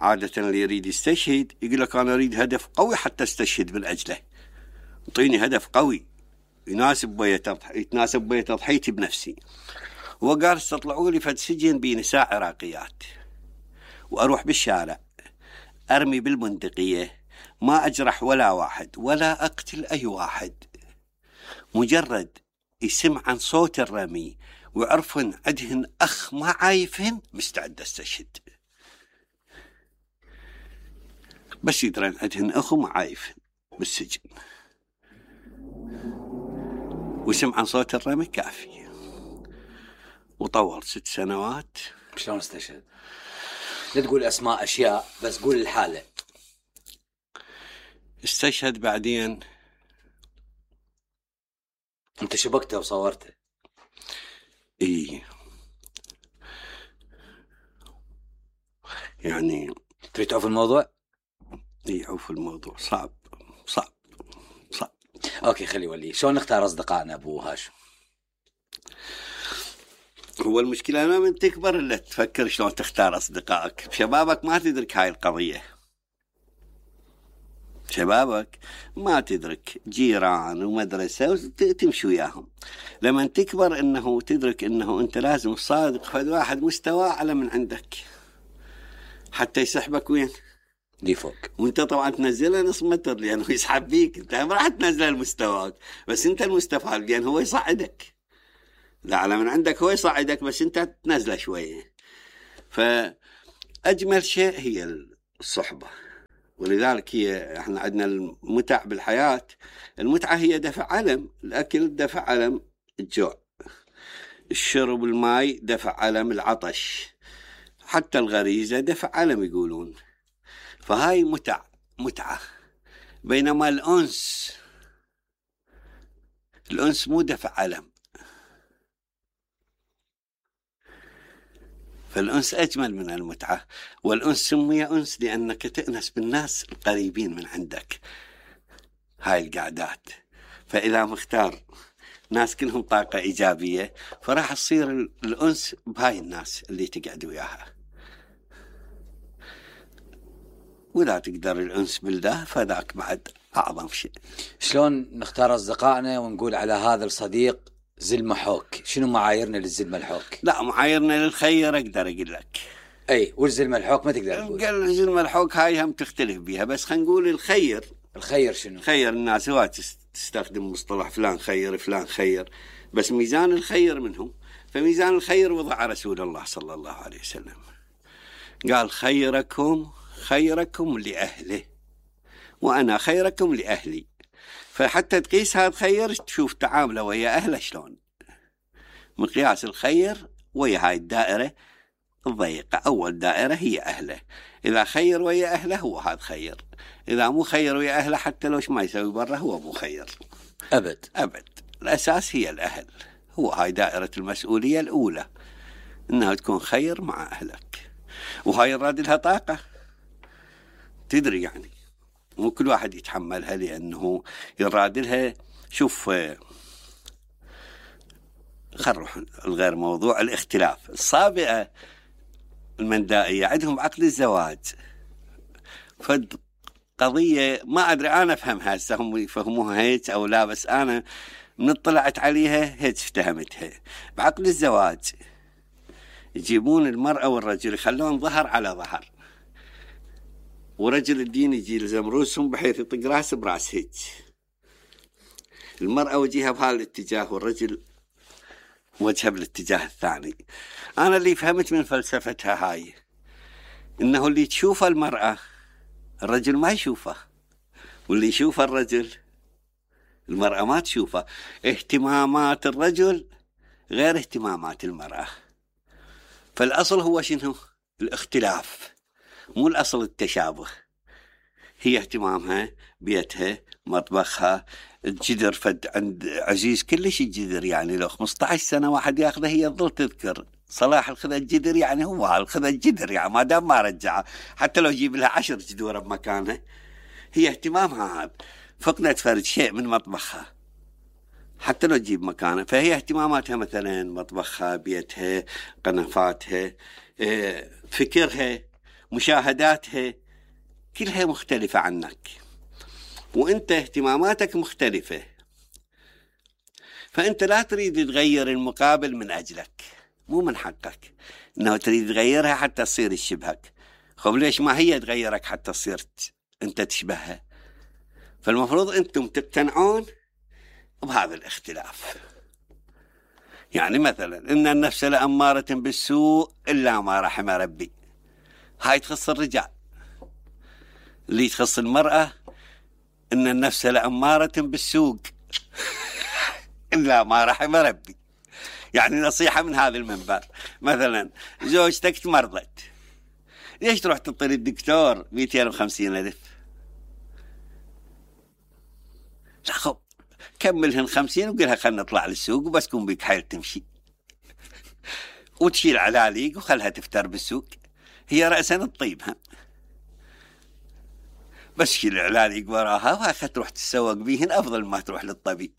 عادة اللي يريد يستشهد يقول لك أنا أريد هدف قوي حتى استشهد من أجله، اعطيني هدف قوي يناسب بيا تضح... يتناسب بيا تضحيتي بنفسي. وقال استطلعوا لي فد سجن بنساء عراقيات، وأروح بالشارع أرمي بالبندقية، ما أجرح ولا واحد ولا أقتل أي واحد، مجرد يسمع عن صوت الرمي ويعرفن عدهن أخ ما عايفهن مستعد استشهد. بس يدرن عدهن أخ ما عايفهن بالسجن وسمع عن صوت الرمي كافي. وطول ست سنوات. شلون استشهد؟ لا تقول أسماء أشياء بس قول الحالة. استشهد بعدين. أنت شبكته وصورته؟ إيه يعني تريد تعوف الموضوع؟ إيه عوف الموضوع صعب صعب صعب. أوكي خلي ولي. شلون نختار أصدقائنا أبو هاشم؟ هو المشكلة ما من تكبر إلا تفكر شلون تختار أصدقائك. بشبابك ما تدرك هاي القضية، شبابك ما تدرك جيران ومدرسة وتمشي وياهم. لما تكبر إنه تدرك إنه أنت لازم صادق فد واحد مستوى على من عندك حتى يسحبك وين لي فوق. وانت طبعا تنزله نص متر لأنه يسحب بيك، انت ما راح تنزله لمستواك، بس انت المستفاد لأن هو يصعدك. الأعلى من عندك هو يصعدك بس أنت تنزله شوية. فأجمل شيء هي الصحبة، ولذلك هي احنا عندنا المتع بالحياة. المتعة هي دفع ألم، الأكل دفع ألم الجوع، الشرب الماء دفع ألم العطش، حتى الغريزة دفع ألم يقولون. فهاي متع متعة. بينما الأنس الأنس مو دفع ألم، فالأنس أجمل من المتعة. والأنس سمي أنس لأنك تأنس بالناس القريبين من عندك. هاي القعدات، فإذا مختار ناس كلهم طاقة إيجابية فراح تصير الأنس بهاي الناس اللي تقعد وياها. وإذا تقدر الأنس بالله فذاك بعد أعظم شيء. شلون نختار أصدقائنا ونقول على هذا الصديق زل محوك؟ شنو معاييرنا للزل ملحوك؟ لا، معاييرنا للخير أقدر أقول لك. أي، والزل ملحوك ما تقدر تقول. قال الزل ملحوك هاي هم تختلف بيها، بس خلينا نقول الخير. الخير شنو؟ خير الناس هو تستخدم مصطلح فلان خير فلان خير، بس ميزان الخير منهم. فميزان الخير وضع رسول الله صلى الله عليه وسلم، قال خيركم خيركم لأهله وأنا خيركم لأهلي. فحتى تقيس هذا خير تشوف تعامله ويا أهله شلون. مقياس الخير ويا هاي الدائرة الضيقة، أول دائرة هي أهله. إذا خير ويا أهله هو هذا خير، إذا مو خير ويا أهله حتى لوش ما يسوي برا هو مو خير أبد أبد. الأساس هي الأهل، هو هاي دائرة المسؤولية الأولى، إنها تكون خير مع أهلك. وهاي الراد لها طاقة، تدري يعني مو كل واحد يتحملها، لأنه يراد لها. شوف، خروح الغير موضوع الاختلاف. الصابئة المندائية عندهم عقد الزواج، فد قضية ما أدري أنا أفهمها هسه هم يفهموها هيك أو لا، بس أنا من اطلعت عليها هيك افتهمتها. بعقد الزواج يجيبون المرأة والرجل يخلون ظهر على ظهر، ورجل الدين يجي يلزم رؤوسهم بحيث يطق راس براس هيك، المرأة وجهها بهذا الاتجاه والرجل وجهه بالاتجاه الثاني. أنا اللي فهمت من فلسفتها هاي إنه اللي تشوفه المرأة الرجل ما يشوفه، واللي يشوفه الرجل المرأة ما تشوفه. اهتمامات الرجل غير اهتمامات المرأة. فالأصل هو شنو؟ الاختلاف، مو الأصل التشابه. هي اهتمامها بيتها مطبخها الجدر، فد عند عزيز كلش الجدر، يعني لو خمسة عشر سنة واحد ياخذه هي تظل تذكر صلاح الخذ الجدر، يعني هو الخذ الجدر يعني ما دام ما رجعه، حتى لو يجيب لها عشر جدور بمكانه هي اهتمامها هذا. فقدت فرد شيء من مطبخها حتى لو تجيب مكانه، فهي اهتماماتها مثلا مطبخها بيتها قنفاتها فكرها مشاهداتها كلها مختلفة عنك، وانت اهتماماتك مختلفة. فانت لا تريد تغير المقابل من اجلك، مو من حقك انه تريد تغيرها حتى تصير تشبهك. خب ليش ما هي تغيرك حتى تصير انت تشبهها؟ فالمفروض انتم تقتنعون بهذا الاختلاف. يعني مثلا ان النفس لأمارة بالسوء الا ما رحم ربي، هاي تخص الرجال. اللي تخص المرأة ان النفس لأمارة بالسوق الا ما رحم ربي. يعني نصيحة من هذا المنبر، مثلا زوجتك تمرضت، ليش تروح تطلب الدكتور مئتين وخمسين ألف؟ لا خب كملهن خمسين وقلها خلنا نطلع للسوق وبس كون بيك حيل تمشي وتشيل علاليق وخلها تفتر بالسوق. هي رأسا الطيبها بس شيل علاليق وراها وهاخد تروح تتسوق بيهن أفضل ما تروح للطبيب.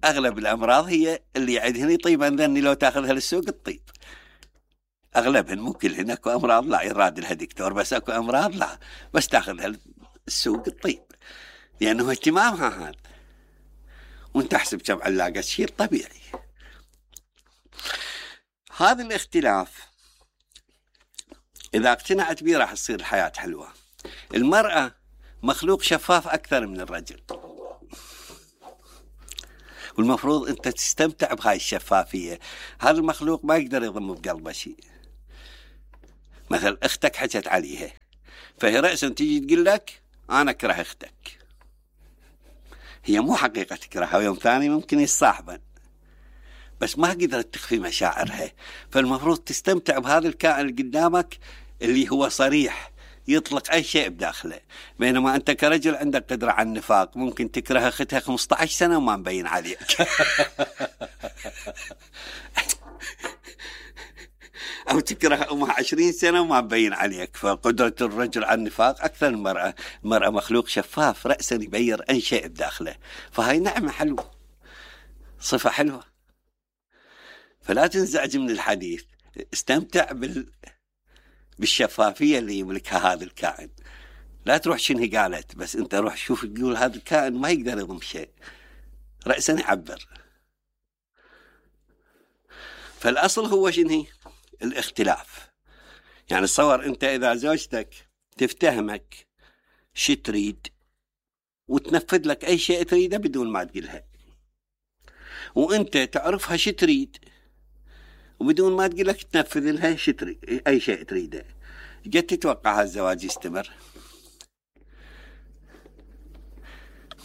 أغلب الأمراض هي اللي عندهن يطيبن ذني لو تأخذها للسوق الطيب. أغلبهن مو كلهن، أكو أمراض لا يراد لها دكتور، بس أكو أمراض لا بس تأخذها للسوق الطيب، لأنه اهتمامها هذا. وانت تحسب كم علاقة شيء طبيعي. هذا الاختلاف إذا اقتنعت به راح تصير الحياة حلوة. المرأة مخلوق شفاف أكثر من الرجل، والمفروض أنت تستمتع بهاي الشفافية. هذا المخلوق ما يقدر يضم بقلبه شيء. مثل أختك حكت عليها، فهي رأسا تيجي تقول لك أنا أكره أختك، هي مو حقيقة تكرهها، ويوم ثاني ممكن يصاحبن، بس ما قدرت تخفي مشاعرها. فالمفروض تستمتع بهذا الكائن اللي قدامك اللي هو صريح يطلق أي شيء بداخله. بينما أنت كرجل عندك قدرة على النفاق، ممكن تكره أختها خمسة عشر سنة وما مبين عليك. أو تكره أمها عشرين سنة وما مبين عليك. فقدرة الرجل على النفاق أكثر من المرأة. المرأة مخلوق شفاف رأسا يبين أي شيء بداخله، فهاي نعمة حلوة، صفة حلوة. فلا تنزعج من الحديث، استمتع بال... بالشفافية اللي يملكها هذا الكائن. لا تروح شنو قالت، بس انت روح شوف تقول هذا الكائن ما يقدر يضم شيء، رأسا يعبر. فالأصل هو شنو؟ الاختلاف. يعني تصور انت اذا زوجتك تفتهمك شي تريد وتنفذ لك اي شيء تريده بدون ما تقولها، وانت تعرفها شي تريد وبدون ما تقول لك تنفذ لها شي تريد، اي شيء تريده، قد تتوقع هالزواج يستمر؟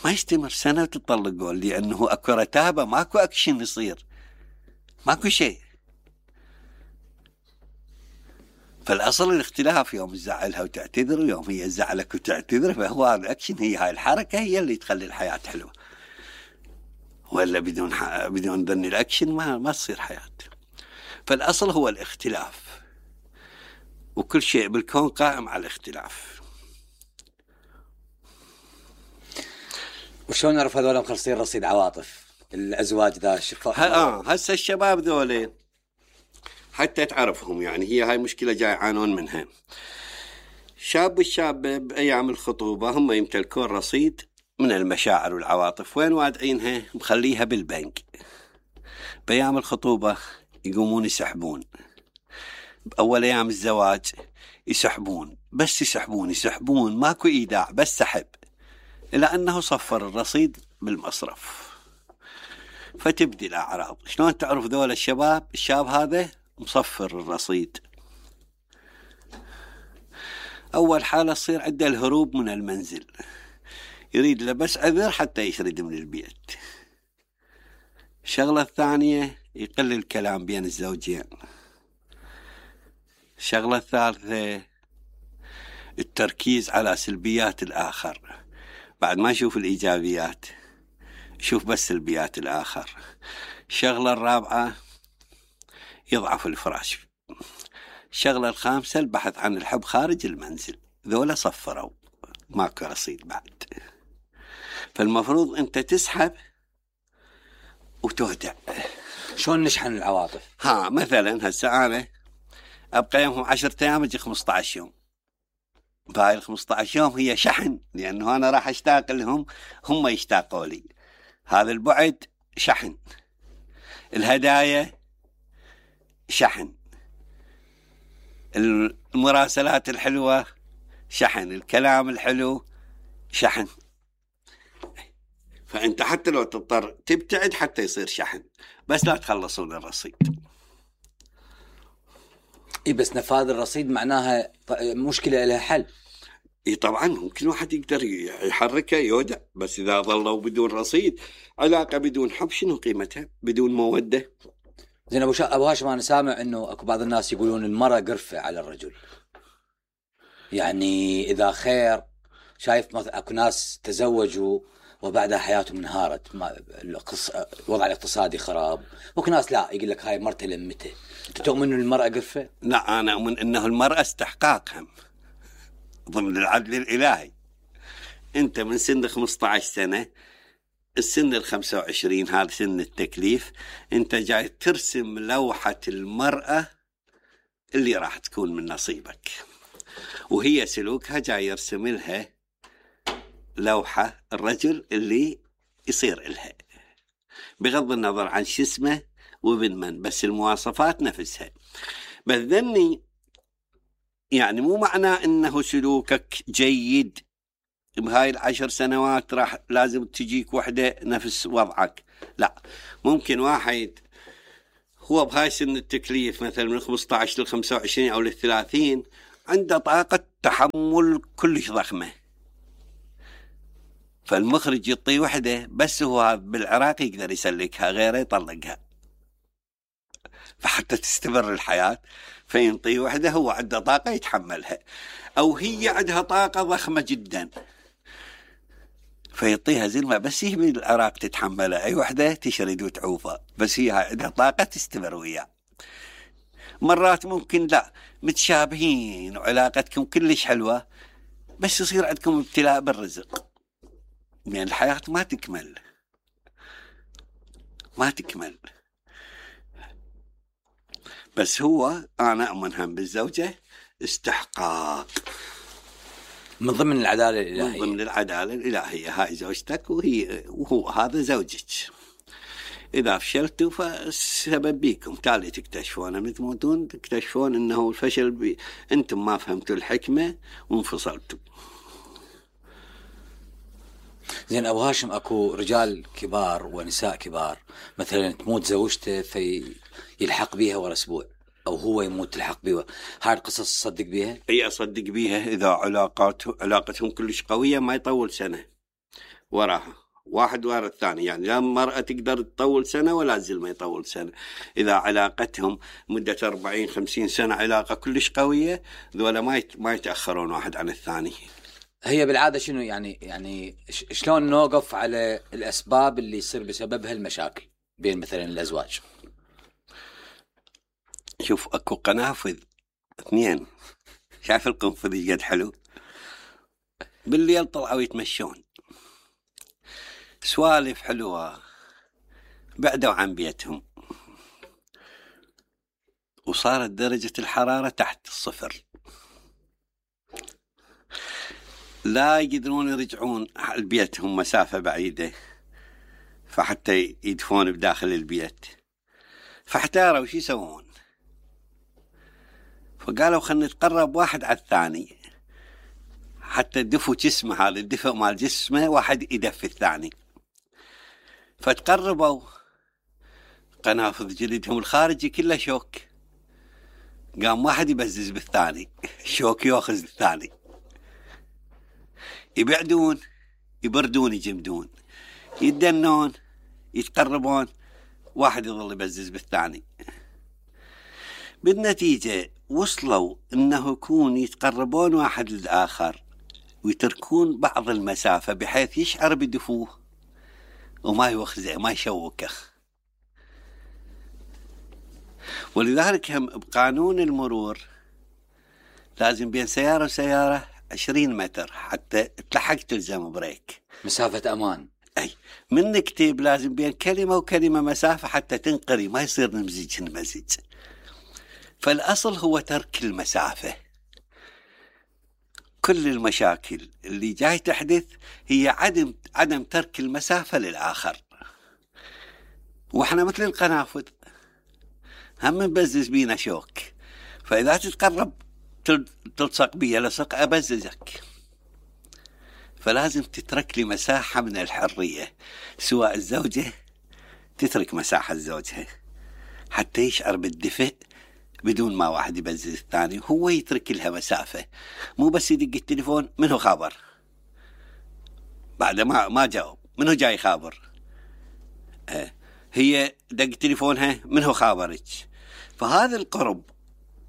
ما يستمر، سنة وتطلقون، لأنه أكو رتابة، ماكو أكشن يصير، ماكو شيء. فالأصل الاختلاف، يوم تزعلها وتعتذر ويوم هي تزعلك وتعتذر، فهو هذا الأكشن، هي هاي الحركة هي اللي تخلي الحياة حلوة. ولا بدون ح... بدون ذن الأكشن ما ما تصير حياة. فالأصل هو الاختلاف، وكل شيء بالكون قائم على الاختلاف. وشون نعرف هذول مخلصين رصيد عواطف الأزواج ذا الشفاء؟ اه هسه الشباب ذولين حتى تعرفهم، يعني هي هاي مشكلة جاي يعانون منها. شاب والشابة بأيام الخطوبة هم يمتلكون رصيد من المشاعر والعواطف، وين وادعينها؟ مخليها بالبنك. بأيام الخطوبة يقومون يسحبون، بأول أيام الزواج يسحبون، بس يسحبون يسحبون ماكو إيداع، بس سحب، إلى أنه صفر الرصيد بالمصرف. فتبدي الأعراض. شلون تعرف ذول الشباب؟ الشاب هذا مصفر الرصيد. أول حالة تصير عنده الهروب من المنزل، يريد له بس عذر حتى يشرد من البيت. الشغلة الثانية يقل الكلام بين الزوجين. الشغلة الثالثة التركيز على سلبيات الآخر، بعد ما يشوف الإيجابيات يشوف بس سلبيات الآخر. الشغلة الرابعة يضعف الفراش. الشغلة الخامسة البحث عن الحب خارج المنزل. ذولا صفروا، ماكو رصيد بعد. فالمفروض أنت تسحب وتهدأ. شلون نشحن العواطف؟ ها مثلا هسه أنا أبقى يومهم عشرة أيام أجي خمسة عشر يوم، بهاي الخمسة عشر يوم هي شحن، لأنه أنا راح أشتاق لهم، هم يشتاقوا لي. هذا البعد شحن، الهدايا شحن، المراسلات الحلوة شحن، الكلام الحلو شحن. فأنت حتى لو تضطر تبتعد حتى يصير شحن، بس لا تخلصون الرصيد. إيه بس نفاذ الرصيد معناها مشكلة لها حل. إيه طبعا ممكن واحد يقدر يحركه يودع، بس إذا ظلوا بدون رصيد علاقة بدون حب شنو قيمتها؟ بدون مودة. زين أبو شا... أبو هاشم، أنا سامع إنه أكو بعض الناس يقولون المرأة قرفة على الرجل. يعني إذا خير، شايف مثلا أكو ناس تزوجوا وبعدها حياتهم انهارت، ما القص... الوضع الاقتصادي خراب، وكو ناس لا يقول لك هاي مرته لمته. أنت تؤمن إن المرأة قرفة؟ لا، أنا أؤمن إنه المرأة استحقاق هم ضمن العدل الإلهي. أنت من سن خمسة عشر سنة، السن الخمسة وعشرين هذا سن التكليف، أنت جاي ترسم لوحة المرأة اللي راح تكون من نصيبك، وهي سلوكها جاي يرسم لها لوحة الرجل اللي يصير إلها، بغض النظر عن شو اسمه وابن من، بس المواصفات نفسها. بس ذني يعني مو معناه إنه سلوكك جيد بهاي العشر سنوات راح لازم تجيك وحدة نفس وضعك. لا، ممكن واحد هو بهاي سن التكليف مثلا من خمسة عشر لخمسة وعشرين أو للثلاثين عنده طاقة تحمل كلش ضخمة، فالمخرج يعطيه وحدة بس هو بالعراق يقدر يسلكها، غيره يطلقها، فحتى تستمر الحياة فينطيه وحدة هو عنده طاقة يتحملها، أو هي عندها طاقة ضخمة جدا فيعطيها زلمة بس هي بالعراق تتحملها، أي وحدة تشرد وتعوفها، بس هي عندها طاقة تستمر وياه. مرات ممكن لا متشابهين وعلاقتكم كلش حلوة بس يصير عندكم ابتلاء بالرزق، يعني الحياة ما تكمل ما تكمل. بس هو أنا أؤمن هم بالزوجة استحقاق من ضمن العدالة الإلهية، من ضمن العدالة الإلهية. هاي زوجتك وهي وهو هذا زوجك، إذا فشلتوا فالسبب بيكم، تالي تكتشفون من تموتون تكتشفون إنه الفشل بي... أنتم ما فهمتوا الحكمة وانفصلتوا. زين أبو هاشم، أكو رجال كبار ونساء كبار مثلا تموت زوجته فيلحق بيها ورا أسبوع، أو هو يموت تلحق بيها، هاي القصص تصدق بيها؟ أي أصدق بيها إذا علاقات علاقتهم كلش قوية ما يطول سنة وراها، واحد ورا الثاني، يعني لا المرأة تقدر تطول سنة ولا الزلمة يطول سنة. إذا علاقتهم مدة أربعين خمسين سنة علاقة كلش قوية ذولا ما يت... ما يتأخرون واحد عن الثاني. هي بالعادة شنو يعني يعني شلون نوقف على الأسباب اللي يصير بسببها المشاكل بين مثلا الأزواج؟ شوف أكو قنافذ اثنين، شايف القنفذ قد حلو، بالليل طلعوا يتمشون سوالف حلوة، بعدوا عن بيتهم وصارت درجة الحرارة تحت الصفر، لا يقدرون يرجعون لبيتهم مسافة بعيدة فحتى يدفون بداخل البيت، فاحتاروا شو يسوون، فقالوا خلنا نتقرب واحد على الثاني حتى دفوا جسمه، هذا الدفء مال جسمه واحد يدفي الثاني، فتقربوا قنافذ جلدهم الخارجي كله شوك، قام واحد يبزز بالثاني، شوك يأخذ الثاني، يبعدون يبردون يجمدون يدنون يتقربون، واحد يظل يبزز بالثاني، بالنتيجة وصلوا انه يكون يتقربون واحد للآخر ويتركون بعض المسافة بحيث يشعر بدفوه وما يوخزه ما يشوكه. ولذلك هم بقانون المرور لازم بين سيارة وسيارة عشرين متر حتى تلحق تلزم بريك، مسافة أمان. أي من نكتب لازم بين كلمة وكلمة مسافة حتى تنقري، ما يصير نمزج نمزج. فالأصل هو ترك المسافة. كل المشاكل اللي جاي تحدث هي عدم عدم ترك المسافة للآخر، وإحنا مثل القنافذ هم نبزز بينا شوك، فإذا تتقرب تلصق بي لصق أبززك، فلازم تترك لي مساحة من الحرية، سواء الزوجة تترك مساحة لزوجها حتى يشعر بالدفء بدون ما واحد يبزز الثاني، هو يترك لها مسافة، مو بس يدق التليفون منه خابر بعد ما ما جاوب منه جاي خابر، آه. هي دق تليفونها منه خابرك. فهذا القرب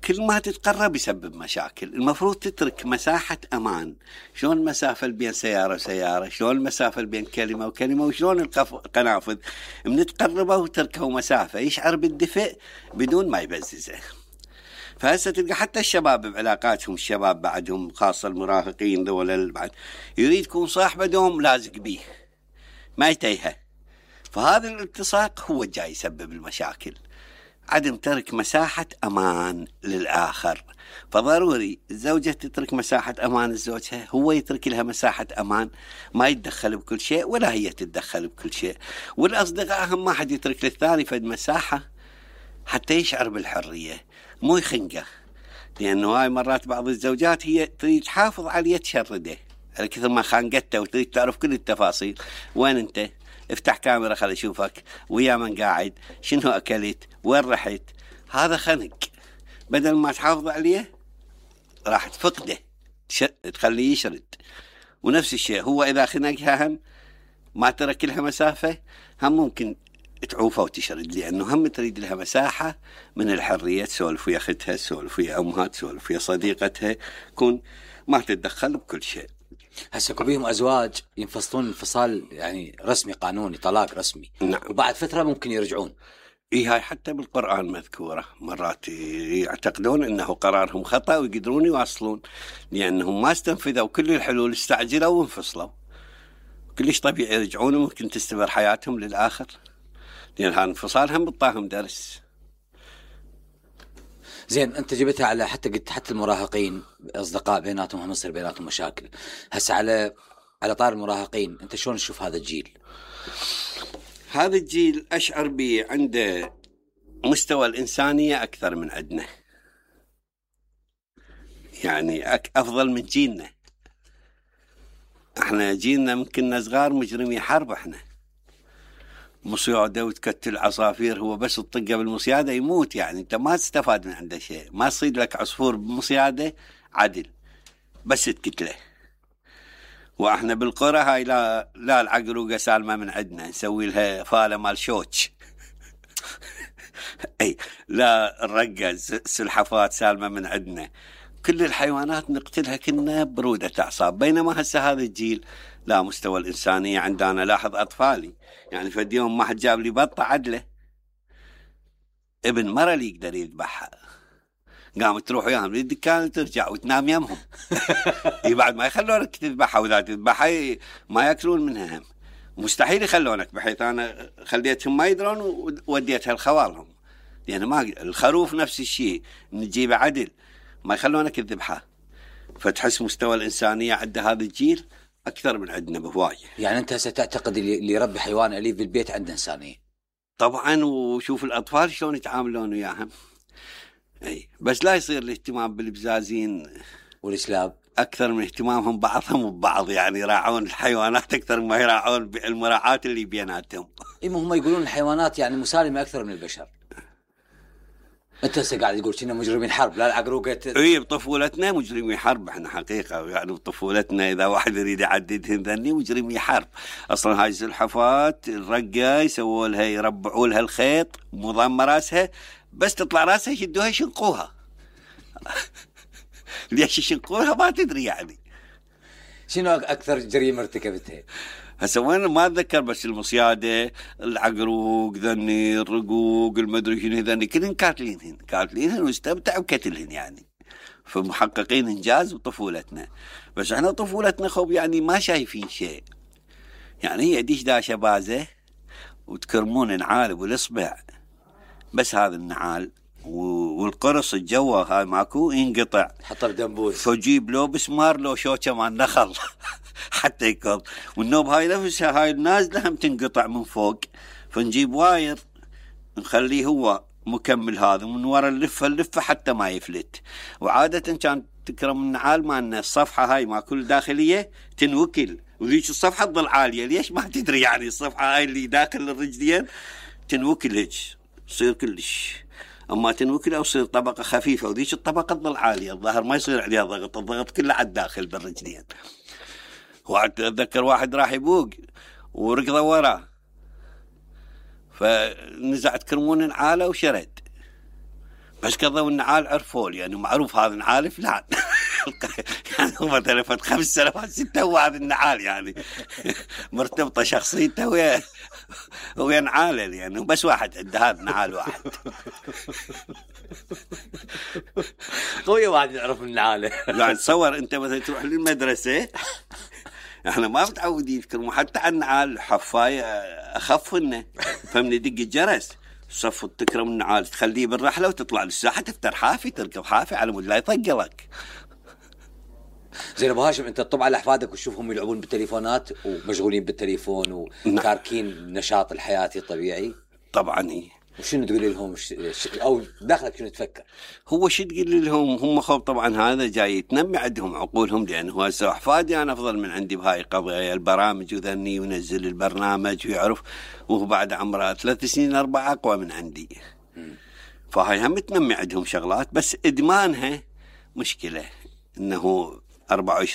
كل ما تتقرب يسبب مشاكل. المفروض تترك مساحة أمان. شلون المسافة بين سيارة وسيارة، شلون المسافة بين كلمة وكلمة، وشلون القنافذ من تقربه وتركه مسافة يشعر بالدفء بدون ما يبززه. فهسه تلقى حتى الشباب بعلاقاتهم، الشباب بعدهم خاصة المراهقين ذولا بعد يريد يكون صاحبه دوم لازق بيه ما يتيهه، فهذا الالتصاق هو جاي يسبب المشاكل، عدم ترك مساحة أمان للآخر. فضروري الزوجة تترك مساحة أمان لزوجها، هو يترك لها مساحة أمان، ما يتدخل بكل شيء ولا هي تتدخل بكل شيء. والأصدقاء هم ما حد يترك للثاني فد مساحة حتى يشعر بالحرية، مو يخنقه، لأنه هاي مرات بعض الزوجات هي تريد تحافظ عليه تشرده على كثر ما خانقته وتريد تعرف كل التفاصيل. وين أنت؟ افتح كاميرا خلي اشوفك ويا من قاعد، شنو اكلت، وين رحت. هذا خنق، بدل ما تحافظ عليه راح تفقده، تخليه يشرد. ونفس الشيء هو اذا خنقها هم ما ترك لها مسافة، هم ممكن تعوفه وتشرد، لأنه هم تريد لها مساحة من الحرية، تسولف ويا أختها، تسولف ويا أمها، تسولف ويا صديقتها، كون ما تتدخل بكل شيء. هسه بيهم أزواج ينفصلون انفصال يعني رسمي قانوني، طلاق رسمي. نعم. وبعد فترة ممكن يرجعون. إيه، هاي حتى بالقرآن مذكورة، مرات يعتقدون أنه قرارهم خطأ ويقدرون يواصلون، لأنهم ما استنفذوا كل الحلول، استعجلوا وانفصلوا. كلش طبيعي يرجعون وممكن تستمر حياتهم للآخر، لأن هذا انفصال هم بطاهم درس. زين، أنت جبتها على حتى قلت حتى المراهقين أصدقاء بيناتهم هم يصير بيناتهم مشاكل. هسه على على طار المراهقين، أنت شلون تشوف هذا الجيل؟ هذا الجيل أشعر به عنده مستوى الإنسانية أكثر من عندنا، يعني أفضل من جيلنا. احنا جيلنا ممكن صغار مجرمي حرب، احنا مصيادة وتكتل عصافير، هو بس تطقه بالمصيادة يموت، يعني انت ما تستفاد من عنده شيء، ما تصيد لك عصفور بمصيادة عدل بس تكتله. واحنا بالقرى هاي لا لا العقروقة سالمة من عندنا، نسوي لها فالة مال شوتش اي لا الرقة سلحفات سالمة من عندنا، كل الحيوانات نقتلها كنا برودة أعصاب. بينما هسه هذا الجيل لا، مستوى الإنسانية عندنا. لاحظ أطفالي، يعني فد يوم ما حد جاب لي بطة عدلة، ابن مرة اللي يقدر يذبحها، قامت تروح وياهم للدكان وترجع وتنام يمهم بعد ما يخلونك تذبحها، وإذا تذبحها ما يأكلون منها هم، مستحيل يخلونك، بحيث أنا خليتهم ما يدرون ووديتها لخوالهم، لأن يعني ما الخروف نفس الشيء نجيبه عدل ما يخلونك تذبحه. فتحس مستوى الإنسانية عند هذا الجيل أكثر من عندنا بهواية. يعني أنت ستعتقد اللي يربي حيوان أليف بالبيت عنده إنسانية؟ طبعا، وشوف الأطفال شلون يتعاملون وياهم. أي بس لا يصير الاهتمام بالبزازين والإسلاب أكثر من اهتمامهم بعضهم ببعض، يعني يراعون الحيوانات أكثر ما يراعون المراعاة اللي بيناتهم. إما هم يقولون الحيوانات يعني مسالمة أكثر من البشر. انت هسه قاعد تقول كنا مجرمين حرب، لا العقروقه اي بطفولتنا مجرمي حرب احنا حقيقه، يعني بطفولتنا اذا واحد يريد يعددهن ذني مجرمي حرب. اصلا هاي السلحفات الرقه يسووا لها يربعوا لها الخيط مضم راسها، بس تطلع راسها يشدوها يشنقوها ليش يشنقوها ما تدري. يعني شنو اكثر جريمه ارتكبتها؟ هسه وين ما اتذكر، بس المصياده العقروق ذني الرقوق المدري شنو ذني كلهن كاتلينهن كاتلينهن واستمتعوا بكتلهن، يعني فمحققين انجاز بطفولتنا. بس احنا طفولتنا خوب يعني ما شايفين شيء، يعني هي ديش داشه بازه وتكرمون نعال والاصبع بس، هذا النعال والقرص الجوه هاي ماكو ينقطع، حطه بدنبوس فجيب لو بسمار لو شوكه مال نخل حتى يكون. والنوب هاي نفسها هاي النازله هم تنقطع من فوق، فنجيب واير نخليه هو مكمل هذا من وراء اللفه اللفه حتى ما يفلت. وعاده كان تكرم النعال مالنا الصفحه هاي ما كل داخليه تنوكل، وذيك الصفحه تظل عاليه، ليش ما تدري، يعني الصفحه هاي اللي داخل الرجلين تنوكل هيك تصير كلش، اما تنوكل او تصير طبقه خفيفه، وذيك الطبقه تظل عاليه، الظهر ما يصير عليها ضغط، الضغط كله على الداخل بالرجلين. وأتذكر واحد راح يبوق وركضه وراه، فنزعت كرمون النعاله وشرد، بس كذا النعال عرفوا لي يعني معروف هذا النعال فلان يعني هو مثلا فت خمس سنوات ستة وهذا النعال يعني مرتبطه شخصيته ويا ويا نعاله، يعني بس واحد عنده هذا نعال واحد قوي واحد يعرف النعاله. يعني تصور انت مثلا تروح للمدرسه، احنا ما متعودين نذكر حتى عن النعال حفايه اخف لنا، فمن يدق الجرس صف تكرم النعال تخليه بالرحله وتطلع للساحه تفتر حافي تركب حافي على مود لا يطقلك. زين ابو هاشم، انت تطب على احفادك وتشوفهم يلعبون بالتليفونات ومشغولين بالتليفون وتاركين النشاط الحياتي الطبيعي؟ طبعا إيه. وشنو تقول لهم او داخلك شنو تفكر؟ هو شو تقول لهم؟ هم خوف طبعا هذا جاي تنمي عندهم عقولهم، لانه هسه احفادي انا افضل من عندي بهاي القضيه البرامج وذني ونزل البرنامج ويعرف، وهو بعد عمره ثلاث سنين اربع اقوى من عندي. فهاي هم تنمي عندهم شغلات، بس ادمانها مشكله، انه أربعة وعشرين